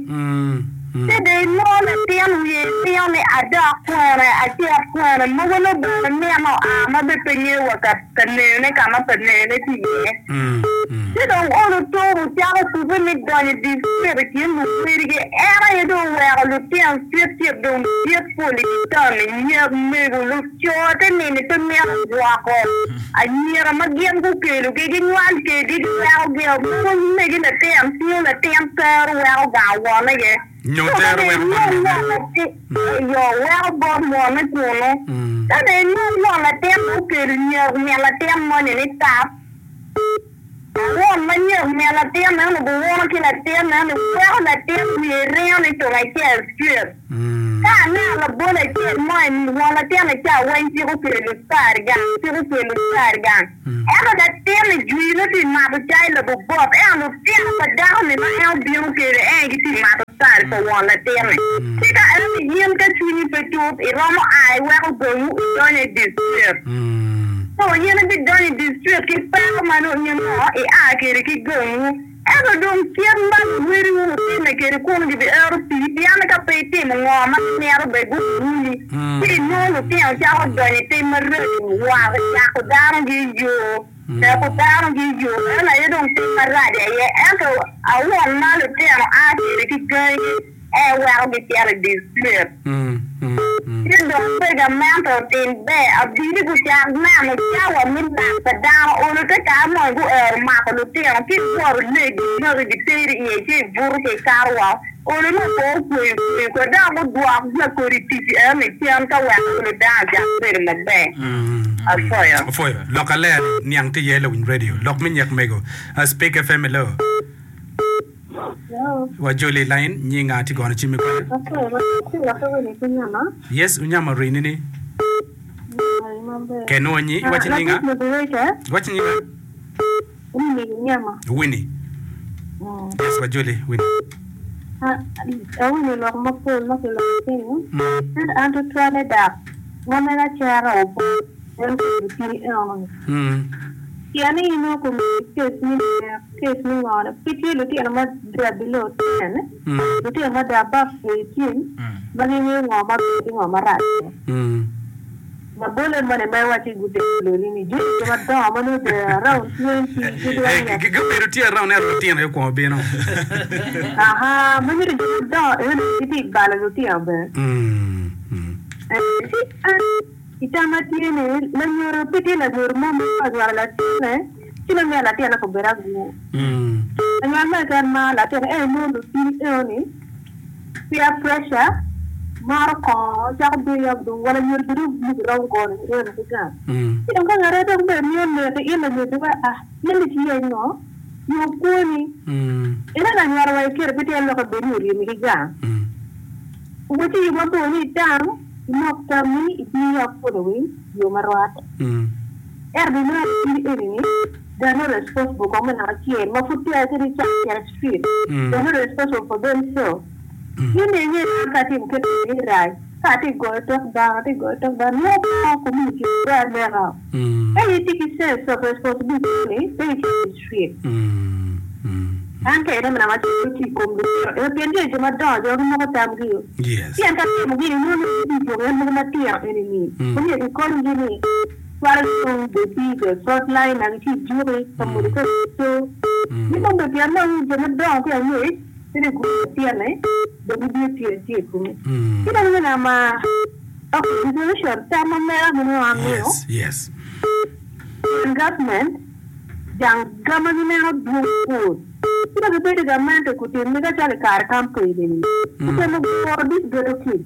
Speaker 11: Ci dong inongo latin wiye tingo ni adok kwene, acit kwene, mogo nongo bene mito oa ma bene pe ngeyo wa ka neyone ka ma pa neyone tye iye. Ci dong olo tuko cako kubbe me donyo i distrik i kin luwedigi. En aye dong oweko lutino cit cit dong dit pol i dye taun-ni, nyek mego, luco te nini pe mito gwoko anyira ma gin gukelogi, ginywal kedgi giwekogi-o. Mogo megi latin tingo latin tero weko gang wonege.
Speaker 1: Nyo
Speaker 11: Co ka
Speaker 1: tero
Speaker 11: dong
Speaker 1: weko bot
Speaker 11: inong
Speaker 1: minne.
Speaker 11: won latin, eyo, weko bot wonne kunu. Ka dong inong won latin dong okelo nyek min latin moni ni tap. Won ma nyek min latin meno guwuno ki latin meno weko latin wiye ringo ni tung acel straight. Ka aneno labol acel mo eni won latin ni ca weng ciko kelo cukari gang, ciko kelo cukari gang. Ento latin ni jwi nongo tye mato cai labobot ento lutino pa dako ni ma en obino kede en gitye mato. kare pa won latin-ni. Ci ka ento in ka cwinyi pe tut, iromo a iweko gangwu idonyo i distrit. So in ibidonyo i distrit ki peko ma nongo in ngo ia kwede ki gangwu. Ento dong kit ma luwediwu gutimme kwede kunu gibiero pii, pien ka pe itimo ngo ma gimito bene guwinyi, ci inongo lutino cako donyo i tim maraco, wako cako danogi i yo. Neko dano-gi i yo meno aye dong tim marac aye, ento awon ma lutino a kwede ki gangi aye weko gicito i distrit. Ci dong pe gamente otim ber, abili gucak neno cawa me lak pa dano olo te kare moni guero mako lutino ki ibwoto legi magi giteri iye ci ibuto ki ikato woko. Olo nongo kor okweyo kweyo kwede dok gudwok lakodi tic eno i cen ka wek olo dano ocak bedo maber. Apwoyo.
Speaker 1: Apwoyo. Lok aler niang tye iye lawiny radio. Lok me nyek mego. Speak FM hello.
Speaker 12: Hello.
Speaker 1: Wa joli line nyinga atye gono cim i kwede.
Speaker 12: Apwoyo matek ci lokke wini ki nyama.
Speaker 1: Yes unyama rini ni.
Speaker 12: Nyama ri maber.
Speaker 1: Kenwonyi iwaci nyinga.
Speaker 12: Latic moderator.
Speaker 1: Iwaci nyinga.
Speaker 12: Winnie Unyama.
Speaker 1: Winnie. Yes, wajoli Winnie.
Speaker 12: Awinyo lok mapol ma kiloko kenyo, ento an tutwalle dok ma mega cero obwot en obedo tidi enoni. Pien ni inongo komiti case me nek, case me ngone, pe tye lutino ma they are below ten, lutino ma they are above 18 ma gingeyo ngo maber ki ngo marac. Labolle moni ma iwacci gutemo lweny ni jami jo madongo ma nongo they are around 20 ki dwong ya.
Speaker 1: Gubedo tye around ento lutino aye okwongo bino.
Speaker 12: Aha, ma nyuto jo madongo eno ni gitye ka balo lutino bene. Ci an i tam ma tye ni lanyodo pe tye lanyodo mo ma ka onywalo latinne ci nongo myero latinne obed agur. Lanywal mo keken maro latinne ento inongo lutini eno ni Peer pressure, maro kongo cako bedo dong wa lanyodo bene dong myero girom gono remo ki gang. Ci dong ka ngate dong bene miyo neki in lanyodo dong ah in ni ci yeny ngo yub kwoni. Ento lanywalo wa iketo pe tyen lok bed ni oryemi ki gang. Wacci yub mabor ni itam imok tammi iti i following yo ma rwatte. Ento binongo in eni ni they are not responsible kong me naka acel ma pud peya kadi icako cito i street they are not responsible for them self. In dong inge ni an ka atimo kit meno ni rac ka atye ka goyo tok dano atye ka goyo tok dano nongo kongo community obedo aneka. Ka in itye ki sense of responsibility ni pe icito i street. An ka ineno naka acel tye i kom lutino ento pien jo jo madongo jo ma gimoko tamgi pien ka timo gini nongo ni gitye i dwogo en mogo matino eni ni omyero kikonygi ni cwalo dong bed the front line na gitye i juki ka modo ka co ni dong bed pien dong jo madongo ki angec pe ni gudo latinne dong gibino tiyo tiyo i kome ci dong me nama ok resolution tam ma mera ma nongo amiyo pien government Jang ga ma gineno dwong pol, ci dok gibedo i gamente kutimme ka calo i kare campaign eni. Gutemo guro this ghetto kids.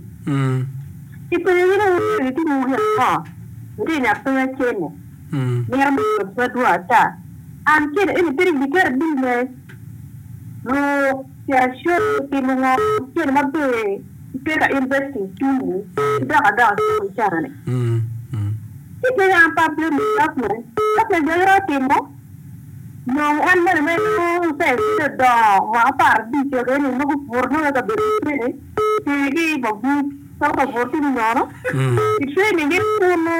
Speaker 12: Kipenyogi ni wun myero gitim wu gin ango? Gitye ni apenya cene, mito me jobs madwong ata. And cene eni pe dong giketo business, luk, cito show, timo ngo, cene maber ipe ka investing tumu ki dok adoka cako i caa ni. Ci pe an pe ablame government, government bene romo timo nong en moni ma inongo sense tye odongo mwaka 15 wa kene ni mogo obuto nongo i kabedo mukene tye ki i mabuc calo ka buto tye nono ki training gi kunu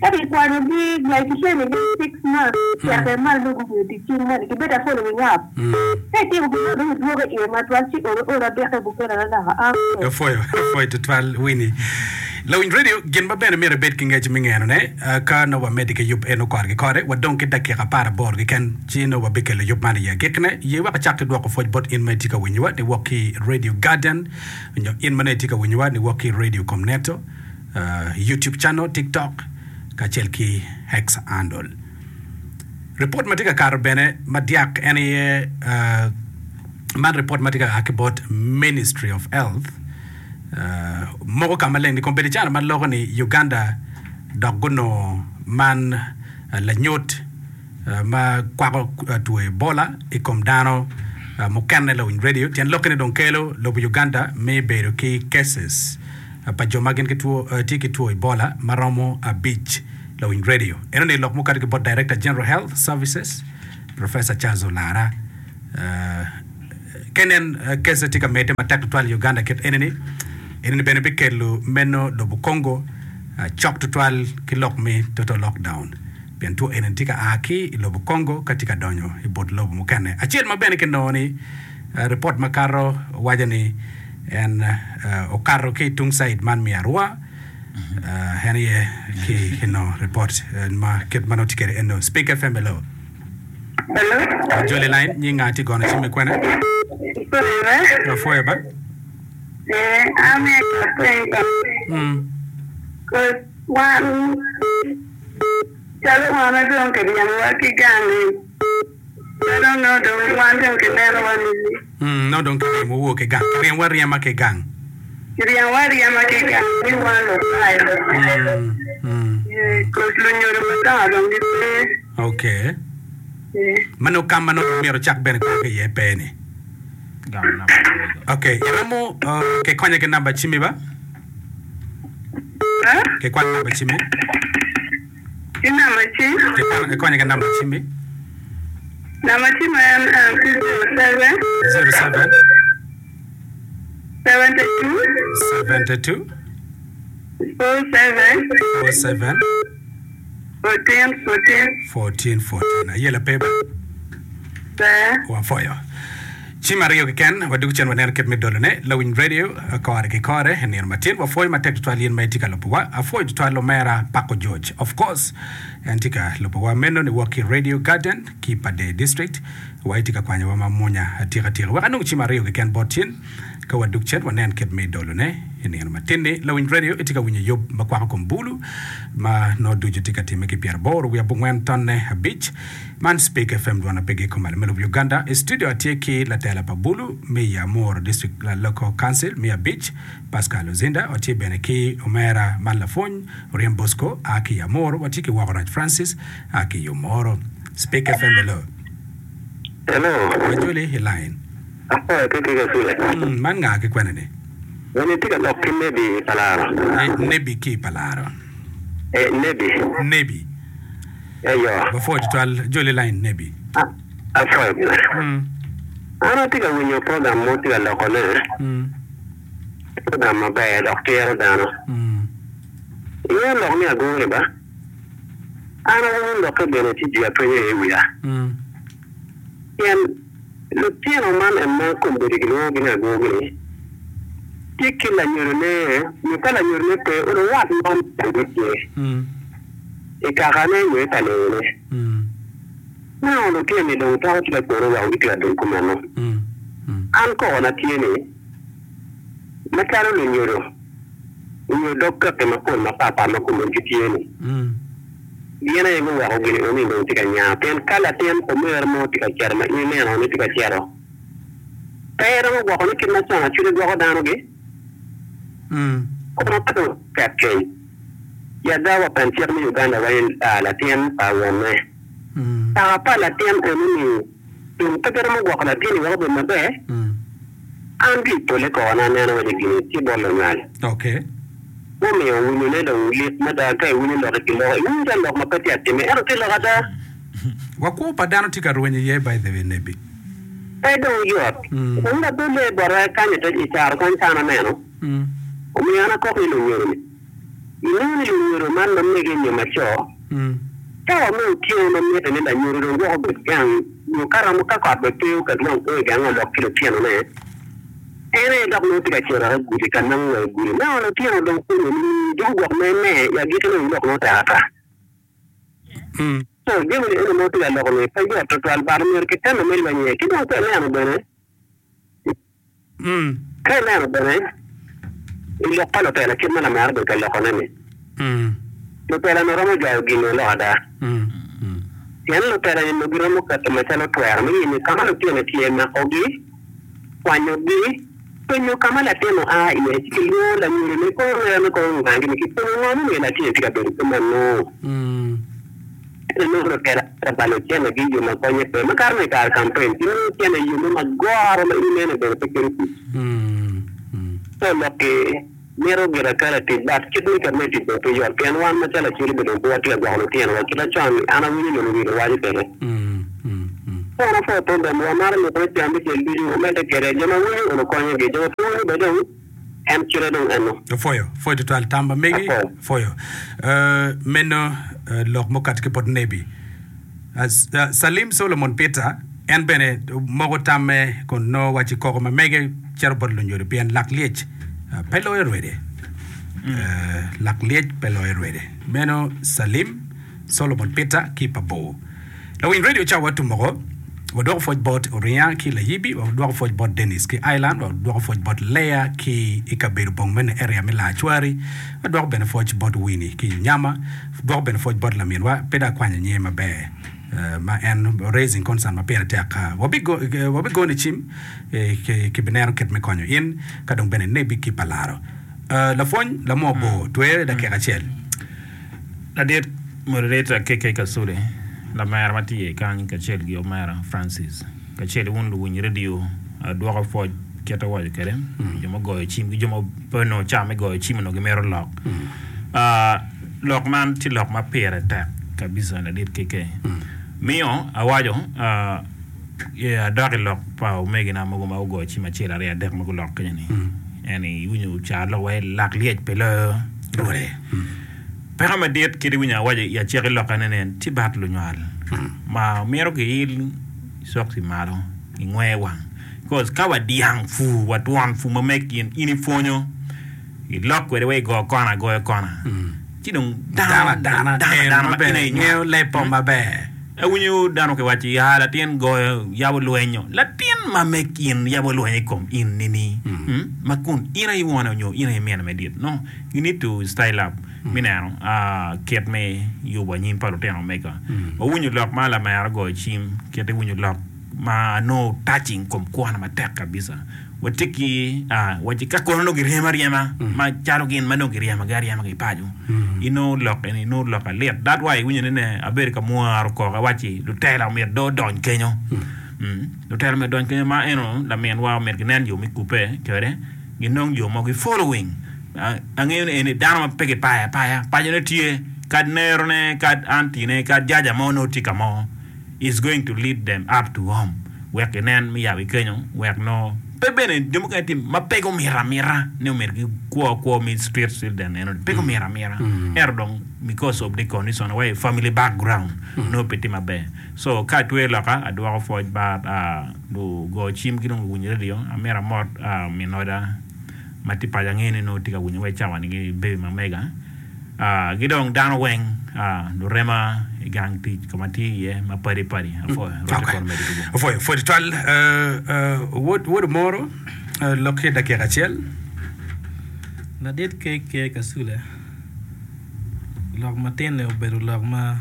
Speaker 12: ka ki kwanyo gi like ki training gi 6 months cito kwede malo nongo gubedo tic cing moni ki bedo following up ka itimo gin mo dong idwogo iye matwal ci olo olo adike bukene naka amen.
Speaker 1: Apwoyo, apwoyo tutwal Winnie. Lawiny radio, gin ma bene myero ibed ki ngec me ngenone, ka nongo wamedde ki yub eno kore ki kore, wadong ki dakika aparaboro keken, ci nongo wabikelo yub man i agikkine. Ye wek acak ki dwoko pwoc bot in ma itye ka winyowa niwok ki i Radio Garden, nyo in ma nongo itye ka winyowa niwok ki i Radio Komneto, YouTube channel, TikTok, kacel ki X handle. Ripot ma tye ka kato bene madyak en aye man ripot ma tye ka a ki bot Ministry of Health, Moko ka maleng ni kombeddi calo ma loko ni Uganda dok gunongo man lanyut ma kwako two Ebola i kom dano mukene lawiny radio tyen lokke ni dong kelo lobo Uganda me bedo ki cases pa jo ma gin tye ki two Ebola ma romo abic lawiny radio. Eno ni lok mukati ki bot Director General Health Services Professor Charles Olara. Ka inen kece tye ka medde matek tutwal i Uganda kit enini, enini bene bikelo meno lobo Congo cok tutwal ki lok me total lockdown pien two enini tye ka a ki i lobo Congo ka tye ka donyo i but lobo mukene. Acel ma bene kinongo ni ripot makato waco ni en okato ki i tung caid man me Arua en aye ki kinongo ripot ma kit ma nongo tye kwede eno. Speak FM hello.
Speaker 13: Hello.
Speaker 1: Ajoli line, nying nga tye gono cim i kwene?
Speaker 13: Apwoyo.
Speaker 1: Apwoyo ba.
Speaker 13: Eh, an aye kapeny ba.
Speaker 1: Mm.
Speaker 13: Cause wan calo wan ma dong kiryemowa ki gang-ngi, calo nongo dong wan dong kinenowa ni.
Speaker 1: Mm, nongo dong kiryemowu ki gang. Kiryemowa aryema ki gang.
Speaker 13: Kiryemowa aryema ki gang ni wan lutayo.
Speaker 1: Mm, mm.
Speaker 13: Eh, cause lunyodo madongo dong gipe.
Speaker 1: Ok. Ma nongo kam ma nongo myero ocak bene kwo ki iye pe ni. Ok, iromo uh, kikonya ki namba cimmi ba? Kikwan namba cimmi.
Speaker 13: Ki namba cim?
Speaker 1: Kikwan, ikonya ki namba cimmi.
Speaker 13: Namba cim en en tye 07.
Speaker 1: 07.
Speaker 13: 72.
Speaker 1: 72.
Speaker 13: 47.
Speaker 1: 47.
Speaker 13: 14, 14.
Speaker 1: 14, 14. Ayela pe ba?
Speaker 13: Ber.
Speaker 1: Wapwoyo. Cim aryo keken, wadwogo cen waneno kit me dolone. Lawiny radio, kore ki kore, i nino matin. Wapwoyo matek tutwal in ma itye ka lubowa. Apwoyo tutwal omera Pako George. Of course, en tye ka lubowa meno niwok ki Radio Garden ki Pader District. Wa itye ka kwanyowa ma mwonya atika tika. Wek anong cim aryo keken bot in. Ka wadug cen, wanen kit me dolone i nino matin-ni. Lawiny redio itye ka winyo yub ma kwako kom bulu ma nongo ducu tye ka timme ki pyeraboro wiye abongwen tonne abic. Man Speke FM dwon apegi i kom malo me lobo Uganda. I studio atye ki latela pa bulu me i Amuru District Local Council me abic, Pascal Ozinda. Watye bene ki omera man lapwony Oryem Bosco a ki i Amuru. Watye ki Woko Rac Francis a ki i Omoro. Speke FM hello.
Speaker 14: Hello.
Speaker 1: Wajoli i line.
Speaker 14: Apwoyo ki ki kacule.
Speaker 1: Man nga ki kwene ni?
Speaker 14: Eni tye ka lok ki Nebi i Palaro.
Speaker 1: Nebi ki i Palaro.
Speaker 14: Eh, Nebi.
Speaker 1: Nebi.
Speaker 14: Eyo.
Speaker 1: Wapwoyo tutwal joli line Nebi.
Speaker 14: Apwoyo gire. An atye ka winyo program mo tye ka loko ne. Program maber dok tiro dano. Ingeyo lok me agure ba? An awinyo lokke bene ci jwi apenyo iye wiya. Pien lutino man en ma kombeddi kilwongogi ni agwogi-ni, tye ki lanyodone nyo ka lanyodone pe, onongo wat mo me tye i kakane nyo i kalewone. Nongo lutino-ni dong twero tye ka kwene weko gitye ka dong kumeno. An kokona tye ni, macalo lunyodo nyo dog kaki mapol mapatpat ma kombeddi gitye-ni, Gin aye guweko gin eno-ni dong tye ka nya. Pien ka latin omero mo tye ka cito ma in ineno ni tye ka cito, pe iromo gwoko ni kit ma con acwele gwoko dano-gi? Kono ka dong tek keny, i ada wa pen cik me Uganda waco ni latin pa wonne. Kaka pa latin eno-ni dong pe giromo gwoko latin-ni wek obed maber? An ki i pole kona aneno waci gin-ni tye bot lunywal. Mumiyo winyone dong lit mada ka iwinyo lok i kin loko. Iwinyo calo lok ma pe tye atime, ento tye lok ada.
Speaker 1: Wa kwo pa dano tye ka rweny iye by the way Nebi.
Speaker 14: Pe dong yot. Wun labelle bota kany i caro kany ka an aneno. Omiyo an akok ni lunyodo ni, inongo ni lunyodo man ma mege nyo ma co, cawa me otyeno ma mitte ni lanyodo dong gwok obed gang nyo ka romo ka kot bene pe oket wang kwo i gange olok ki lutinone, En aye dok nongo tye ka cito i gudi ka nongo wa i gudi. Nongo lutino dong pwonyo nining? Dong gwok me me i agikkine dong lok nongo tek ata. Co, jami ni eni ma wutye ka loko ni pe yot tutwal but myero kitemme me lweny iye. Ki dong ka ineno bene, ka ineno bene i lok pa lutela kit ma lamera obedo ka lokone ni, Lutela-ni romo jwayo gin-ni lok ada. Pien lutela-ni onongo giromo keto macalo twero me yenyo ka ma lutino tye, makogi, kwanyogi, penyo ka ma latin oa iye, ci kilwongo lanyodone kong wer me kong ngagi-ni, kipenyo ngo mumiyo latin-ni tye ka bedo kumeno. Ento nongo lutela tye ka balo centegi i yo ma konye pe. Makato ni i kare kampen, gimiyo cente i yo mo magoro ma in ineno bene pe kelo kuc. Co lok-ki. Mito gire ka latic but kit me ket me tic dong pe yot pien wan macalo Acholi bene dong pe watye ka gwoko lutino wa kit acon an awinyo lunu wilo waco kwede. So an apwoyo program wa amaro lok me cam me ceng ducu wumedde kwede jo ma winyo onongo konyo gi jo ma pe winyo bene dong en kite dong eno.
Speaker 1: Apwoyo, pwoyo tutwal tam ma megi, pwoyo. Meno lok mukati ki bot Nebi. Salim Solomon Peter en bene moko tamme kun nongo waci koko ma mege cito bot lunyodo pien lak lyec pe loyo rwede. Lak lyec pe loyo rwede. Meno Salim Solomon Peter ki pa bor. Lawiny radio ca wa tumoko wadwoko pwoc bot Oringa ki Layibi, wadwoko pwoc bot Dennis ki Island, wadwoko pwoc bot Leah ki i kabedo bong mene area me Lacwari, wadwoko bene pwoc bot Winnie ki Onyama, wadwoko bene pwoc bot laminwa pe dong akwanyo nyinge maber ma en raising concern ma pire tek. Wabigoni cim kibineno kit me konyo in ka dong bene Nebi ki Palaro. Lapwony lamwo bor twere dakika acel.
Speaker 2: Ladit Moderator KK Kasule, lamera ma tye iye kany kacel ki omera Francis kacel ki wun luwiny radio adwoko pwoc kit awaco kwede jo ma ogoyo cim ki jo ma pe onongo cawa me goyo cim onongo gimito lok. Lok man tye lok ma pire tek kabisa ladit KK miyo awaco adok i lok pa omegina mogo ma gugoyo cim acel aryo adek ma gulok kenyo ni en iwinyo ca lok wai lak lyec pe loyo rwode. Peko madit kit iwinyo awaco i acaki lokke ni nen tye bat lunywal ma myero giil cokci malo ingwe wang coz ka wa dyang pur wa twon pur ma meg in in ipwonyo ilok kwede wa igo kona agoya kona ci dong dano
Speaker 1: adana
Speaker 2: dano ma in aye
Speaker 1: inywalo ngeyo lepo maber.
Speaker 2: Awinyo dano kiwaco ya latin goyo yabo lwenyo latin ma meg in yabo lwenyo i kom in nini ma kun in aye wone nyo in aye mine me dit no You need to style up me neno kit me yubo anyim pa lutino mega. Wawinyo lok ma lamera ogoyo cim kit iwinyo lok ma nongo touching kom kwona matek kabisa. Watye ki waci ka kono nongo giryemo aryema ma calo gin ma nongo giryemogi aryema ki paco inongo lok eni inongo lok alit. That why iwinyo ni ne abedo ka mwaro koko awaci lutela omyero dong odony kenyo. Lutela omyero odony kenyo ma eno laminwa omyero ginen yo me kubbe kwede. Ginong jo mogo i following. Angeyo ni eni dano ma pe gipayo apaya. Pacone tye, kad nerone, kad auntie-ne, kad jaja mo nongo tye ka mo is going to lead them up to home wek ginen me yabo i kenyo wek nongo pe bene jo mukene tye ma pe gumito amita ni omyero gikwo kwo me street children eno ni pe gumito amita ento dong because of the condition wa i family background nongo pe tye maber. So ka atweyo loka adwoko pwoc bat Lugo cim ki dong luwiny redio, amito amot min oda ma tye paco angeyo ni nongo tye ka winyo wa i cawa ni ki baby ma mega ki dong dano weng lurema i gang tic ka ma tye iye ma padi padi apwoyo rwot
Speaker 1: Okay.
Speaker 2: kono medo tugo.
Speaker 1: Apwoyo, pwoyo tutwal. Wod, wod Omoro, lok ki dakika acel.
Speaker 15: Ladit KK Kasule, lok matin-ni obedo lok ma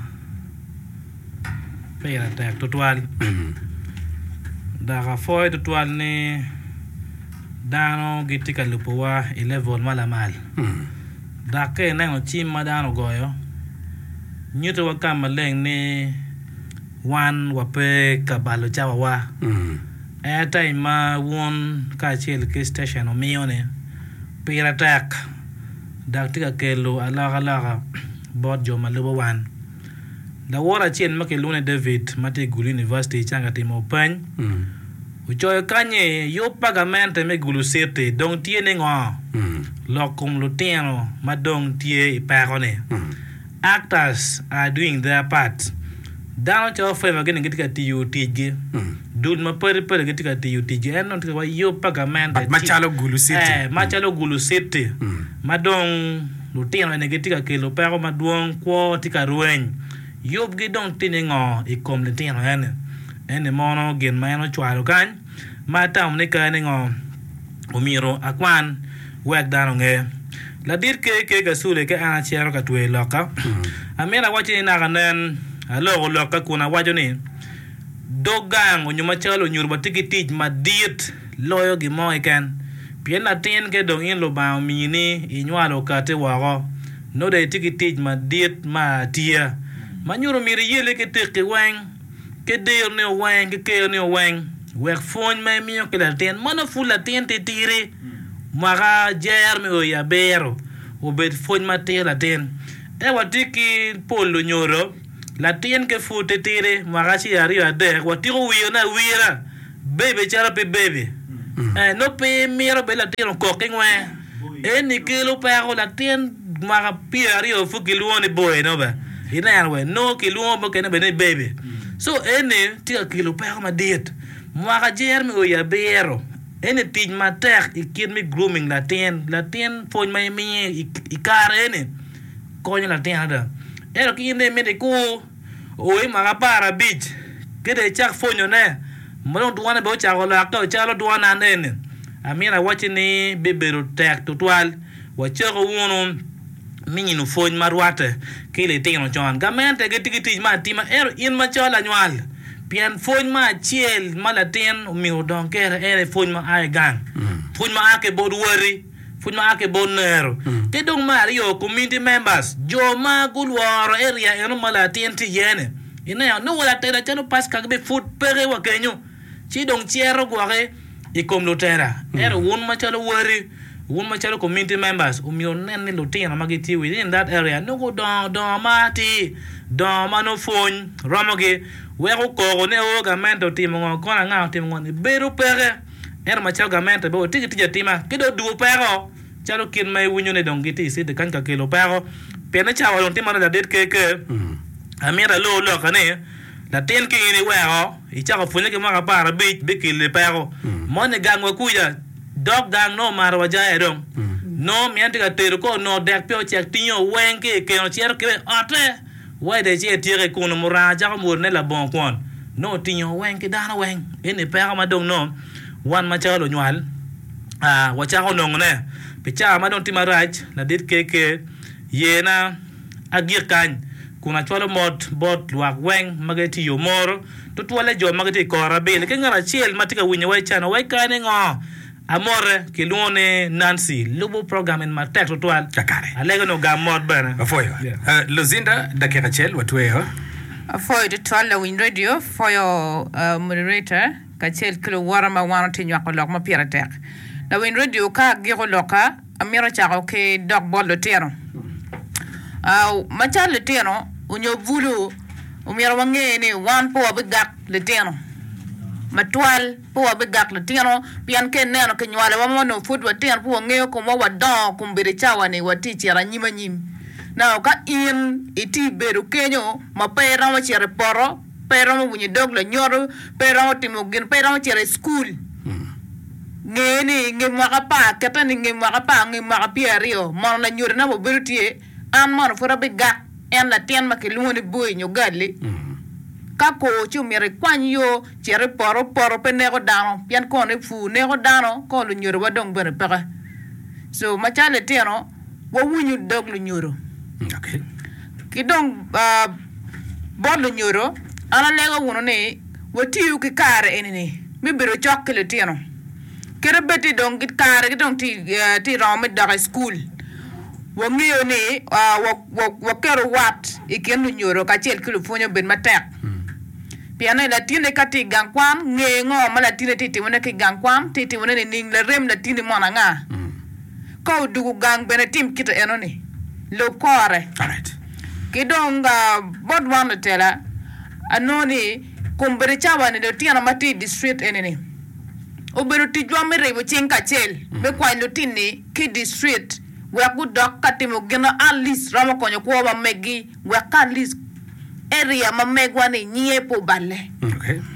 Speaker 15: Pire tek tutwal dok apwoyo tutwal ni dano gitye ka lubowa i level ma lamal dok ka ineno cim ma dano ogoyo nyutowa ka maleng ni wan wape ka balo cawawa airtime ma wun kacel ki citecen wumiyo-ni pire tek dok tye ka kelo alokaloka bot jo ma lubo wan. Laworo acel ma kilwongo ni David ma tye i Gulu University ca ka timo peny ocoyo kany ni, Yub pa gamente me Gulu City dong tye ni ngo? Lok kom lutino ma dong tye i peko-ni. Actors are doing their part. Dano calo Favor gini gitye ka tiyo ticgi. Dul mapadi padi gitye ka tiyo ticgi. En dong tye ka waco yub pa gamente
Speaker 1: But macalo Gulu City.
Speaker 15: Eh, macalo Gulu City ma dong Lutino eni gitye ka kelo peko madwong, kwo tye ka rweny. Yubgi dong tye ni ngo i kom litino eni? Eni mono gin ma en ocwalo kany ma atamo ni kare ni ngo omyero akwan wek dano onge. Ladit KK Kasule ka an acito ka tweyo lokka, amito awacci ni naka nen aloko lokka kun awaco ni dog gang onyo macalo onyuto watye ki tic madit loyo gin mo keken. Pien latin ka dong in Lubanga omini inywalo okati woko, nongo dong itye ki tic madit me atiya ma nyuto myero iyelle ki tekki weng, ki dironi weng, ki keroni weng, wek pwony ma imiyo ki latin ma nongo pud latin titidi mwaka jer me o i abiro obed pwony matir latin. Ento watye ki pol lunyodo. Latin ki pud titidi, mwaka acel, aryo, adek, watiko wiyone awira, baby calo pe baby. Eh, nongo pe imito bed latin okok ki ngwe. Eni kelo peko, latin mwaka pyeraryo pud kilwongo ni boy nongo bene. Ineno we, nongo kilwongo mukene bene ni baby. So eni tye ka kelo peko madit. Mwaka jer me o i abiro, eni tic matek i kit me grooming latin. Latin pwony ma imiye i kare eni konyo latin adada. Ento ki in dong imito ikur o i mwaka aparabic ki dong icak pwonyone ma dong dwone bene ocako lokke calo dwon an eni, amito awacci ni bibedo tek tutwal. Wacaku wunu mino pwony ma rwatte ki litino con. Gamente gitye ki tic me atima ento in macalo lanywal, pien pwony me acel ma latin omyero odong kwede en aye pwony ma a i gang, pwony ma a ki bot wati. Pwony ma a ki bot nero. Ki dong me aryo, community members, jo ma gulworo area eno ma latin tye iye ni, ineno ni wa latela calo Pasca gibi pud peke wa kenyo, ci dong cito gwoki i kom lutela. Ento wun macalo wari, wun macalo community members, omyero wunen ni lutino ma gitye within that area nongo gudongo dongo ma atir, dongo ma nongo pwony romogi, weko koko ni oo gamente otimo ngo, kono anga otimo ngo ni bedo peke. Ento macalo gamente bene watye ki tic atima ki dong dwogo peko calo kit ma iwinyo ni dong gitye i city kany ka kelo peko pien ni cawa dong tye marac ladit KK amito alor loka ni latin ki in iweko icako pwonye ki mwaka aparabic bikeli peko moni gang wa kuca dok gang nongo omato wa jaya dong nongo mine tye ka tedo ka onongo dek pe ocek tingo weng ki i keno cito kwede i otte. Wede ci etyeke kunu muranga cako mwodone labongo kwon. Nongo otingo weng ki dano weng. Eni peko ma dong nongo wan macalo lunywal wacako nongone. Pi cawa ma dong tye marac, ladit KK yena agik kany kun acwalo mot bot lwak weng ma gitye i Omoro, tutwalle jo ma gitye i kor abil ki ngat acel ma tye ka winyowa i cano wa i kare ni ngo. Amote, kilwongo ni Nancy, lubo program eni matek tutwal.
Speaker 1: Kakare.
Speaker 15: Alego ni ogam mot bene.
Speaker 1: Apwoyo. Luzinda, dakika acel watweyo.
Speaker 6: Apwoyo tutwal lawiny radio, apwoyo moderator kacel ki luwota ma wan watye nywako lok ma pire tek. Lawiny radio ka agiko lokka, amito cako ki dok bot lutino. Macalo lutino onyo bulu, omyero wange ni wan pe wabigak litino matwal. Pe wabigak litino, pien ka ineno kinywalowa ma onongo pud watino, pe wangeyo komwa, wadongo kombeddi cawa-ni watye cito anyim anyim. Now ka in itye bedo kenyo ma pe iromo cito i poto, pe iromo winyo dog lanyodo, pe iromo timo gin, pe iromo cito i cukul, nge ni i nge mwaka apar, kette ni i nge mwaka apar, nge mwaka pyeraryo, mono lanyodona obedo tye, an mono pud abigak en latin ma kilwongo ni boy nyo gali? Ka kor ci omyero ikwany yo. Cit i poto, poto pe neko dano pien kono i pur neko dano kono lunyodowa dong bene peke. So macalo litino wawinyo dog lunyodo. Ki dong bot lunyodo an alego wunu ni watiyu ki kare eni-ni me bedo cok ki litino. Kadi bed ni dong kare gi dong tye romo me dok i cukul, wangeyo ni waketo wat i kin lunyodo kacel ki lupwonye obed matek. Pien ni latinni ka tye i gang kwan, nge ngo ma latinni tye ka timone ki i gang kwan, tye ka timone nining, larem latinni mono anga? Ka odwogo gang bene tim kite enoni, lub kore. Ki dong bot wan lutela, anongo ni kombeddi cawa-ni lutino ma tye i distrit eni-ni, obedo ticwa me ribo cing kacel me kwanyo lutinni ki i distrit wek gudok ka timo gin ma at least romo konyo kwo ma meggi. Wek ka at least area ma megwa ni nyinge pe oballe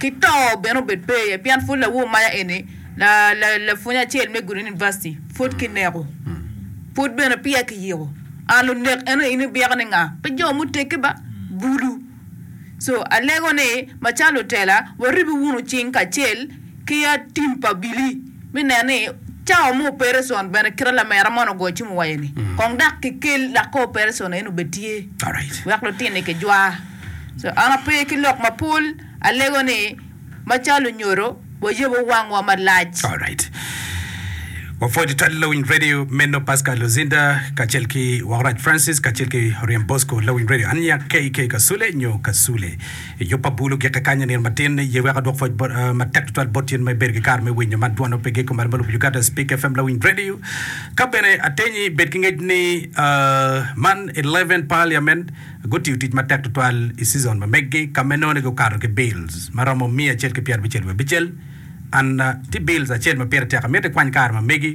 Speaker 6: ki to bene obed pe iye pien pud lawor maya eni lapwony acel me Gudo University pud ki neko pud bene peya ki yiko and lunek eno in ibyeko ni nga pe jo muteggi ba bulu so alego ni macalo lutela waribi wunu cing kacel ki tim pa abili me neno ni cawa me opereson bene kite lamera moni ogoyo cim owaco ni kong dok kikel dok ka opereson eni obed tye wek lutini kijwa. So an ape ki lok mapol alego ni macalo lunyodo wayabo wangwa malac.
Speaker 1: Wapwoyo tutwal Lawiny Radio meno Pascal Luzinda kacel ki Wakrac Francis kacel ki Oryem Bosco Lawiny Radio. An nyinga KK Kasule nyo Kasule. I yub pa bulu gike kany i nino matin ye wek adwok pwoc bot, uh, matek tutwal bot in ma ibedo ki kare me winyo man dwon opege i kom malo ma lubo Uganda Speak FM Lawiny Radio. Ka bene atenyi bed ki ngec ni uh, man 11 Parliament gutiyo tic matek tutwal i season ma meggi ka ma inongo ni gukato ki bills ma romo miya acel ki pyerabicel wiye abicel. And tye bills acel ma pire tek amito ikwany kare ma megi.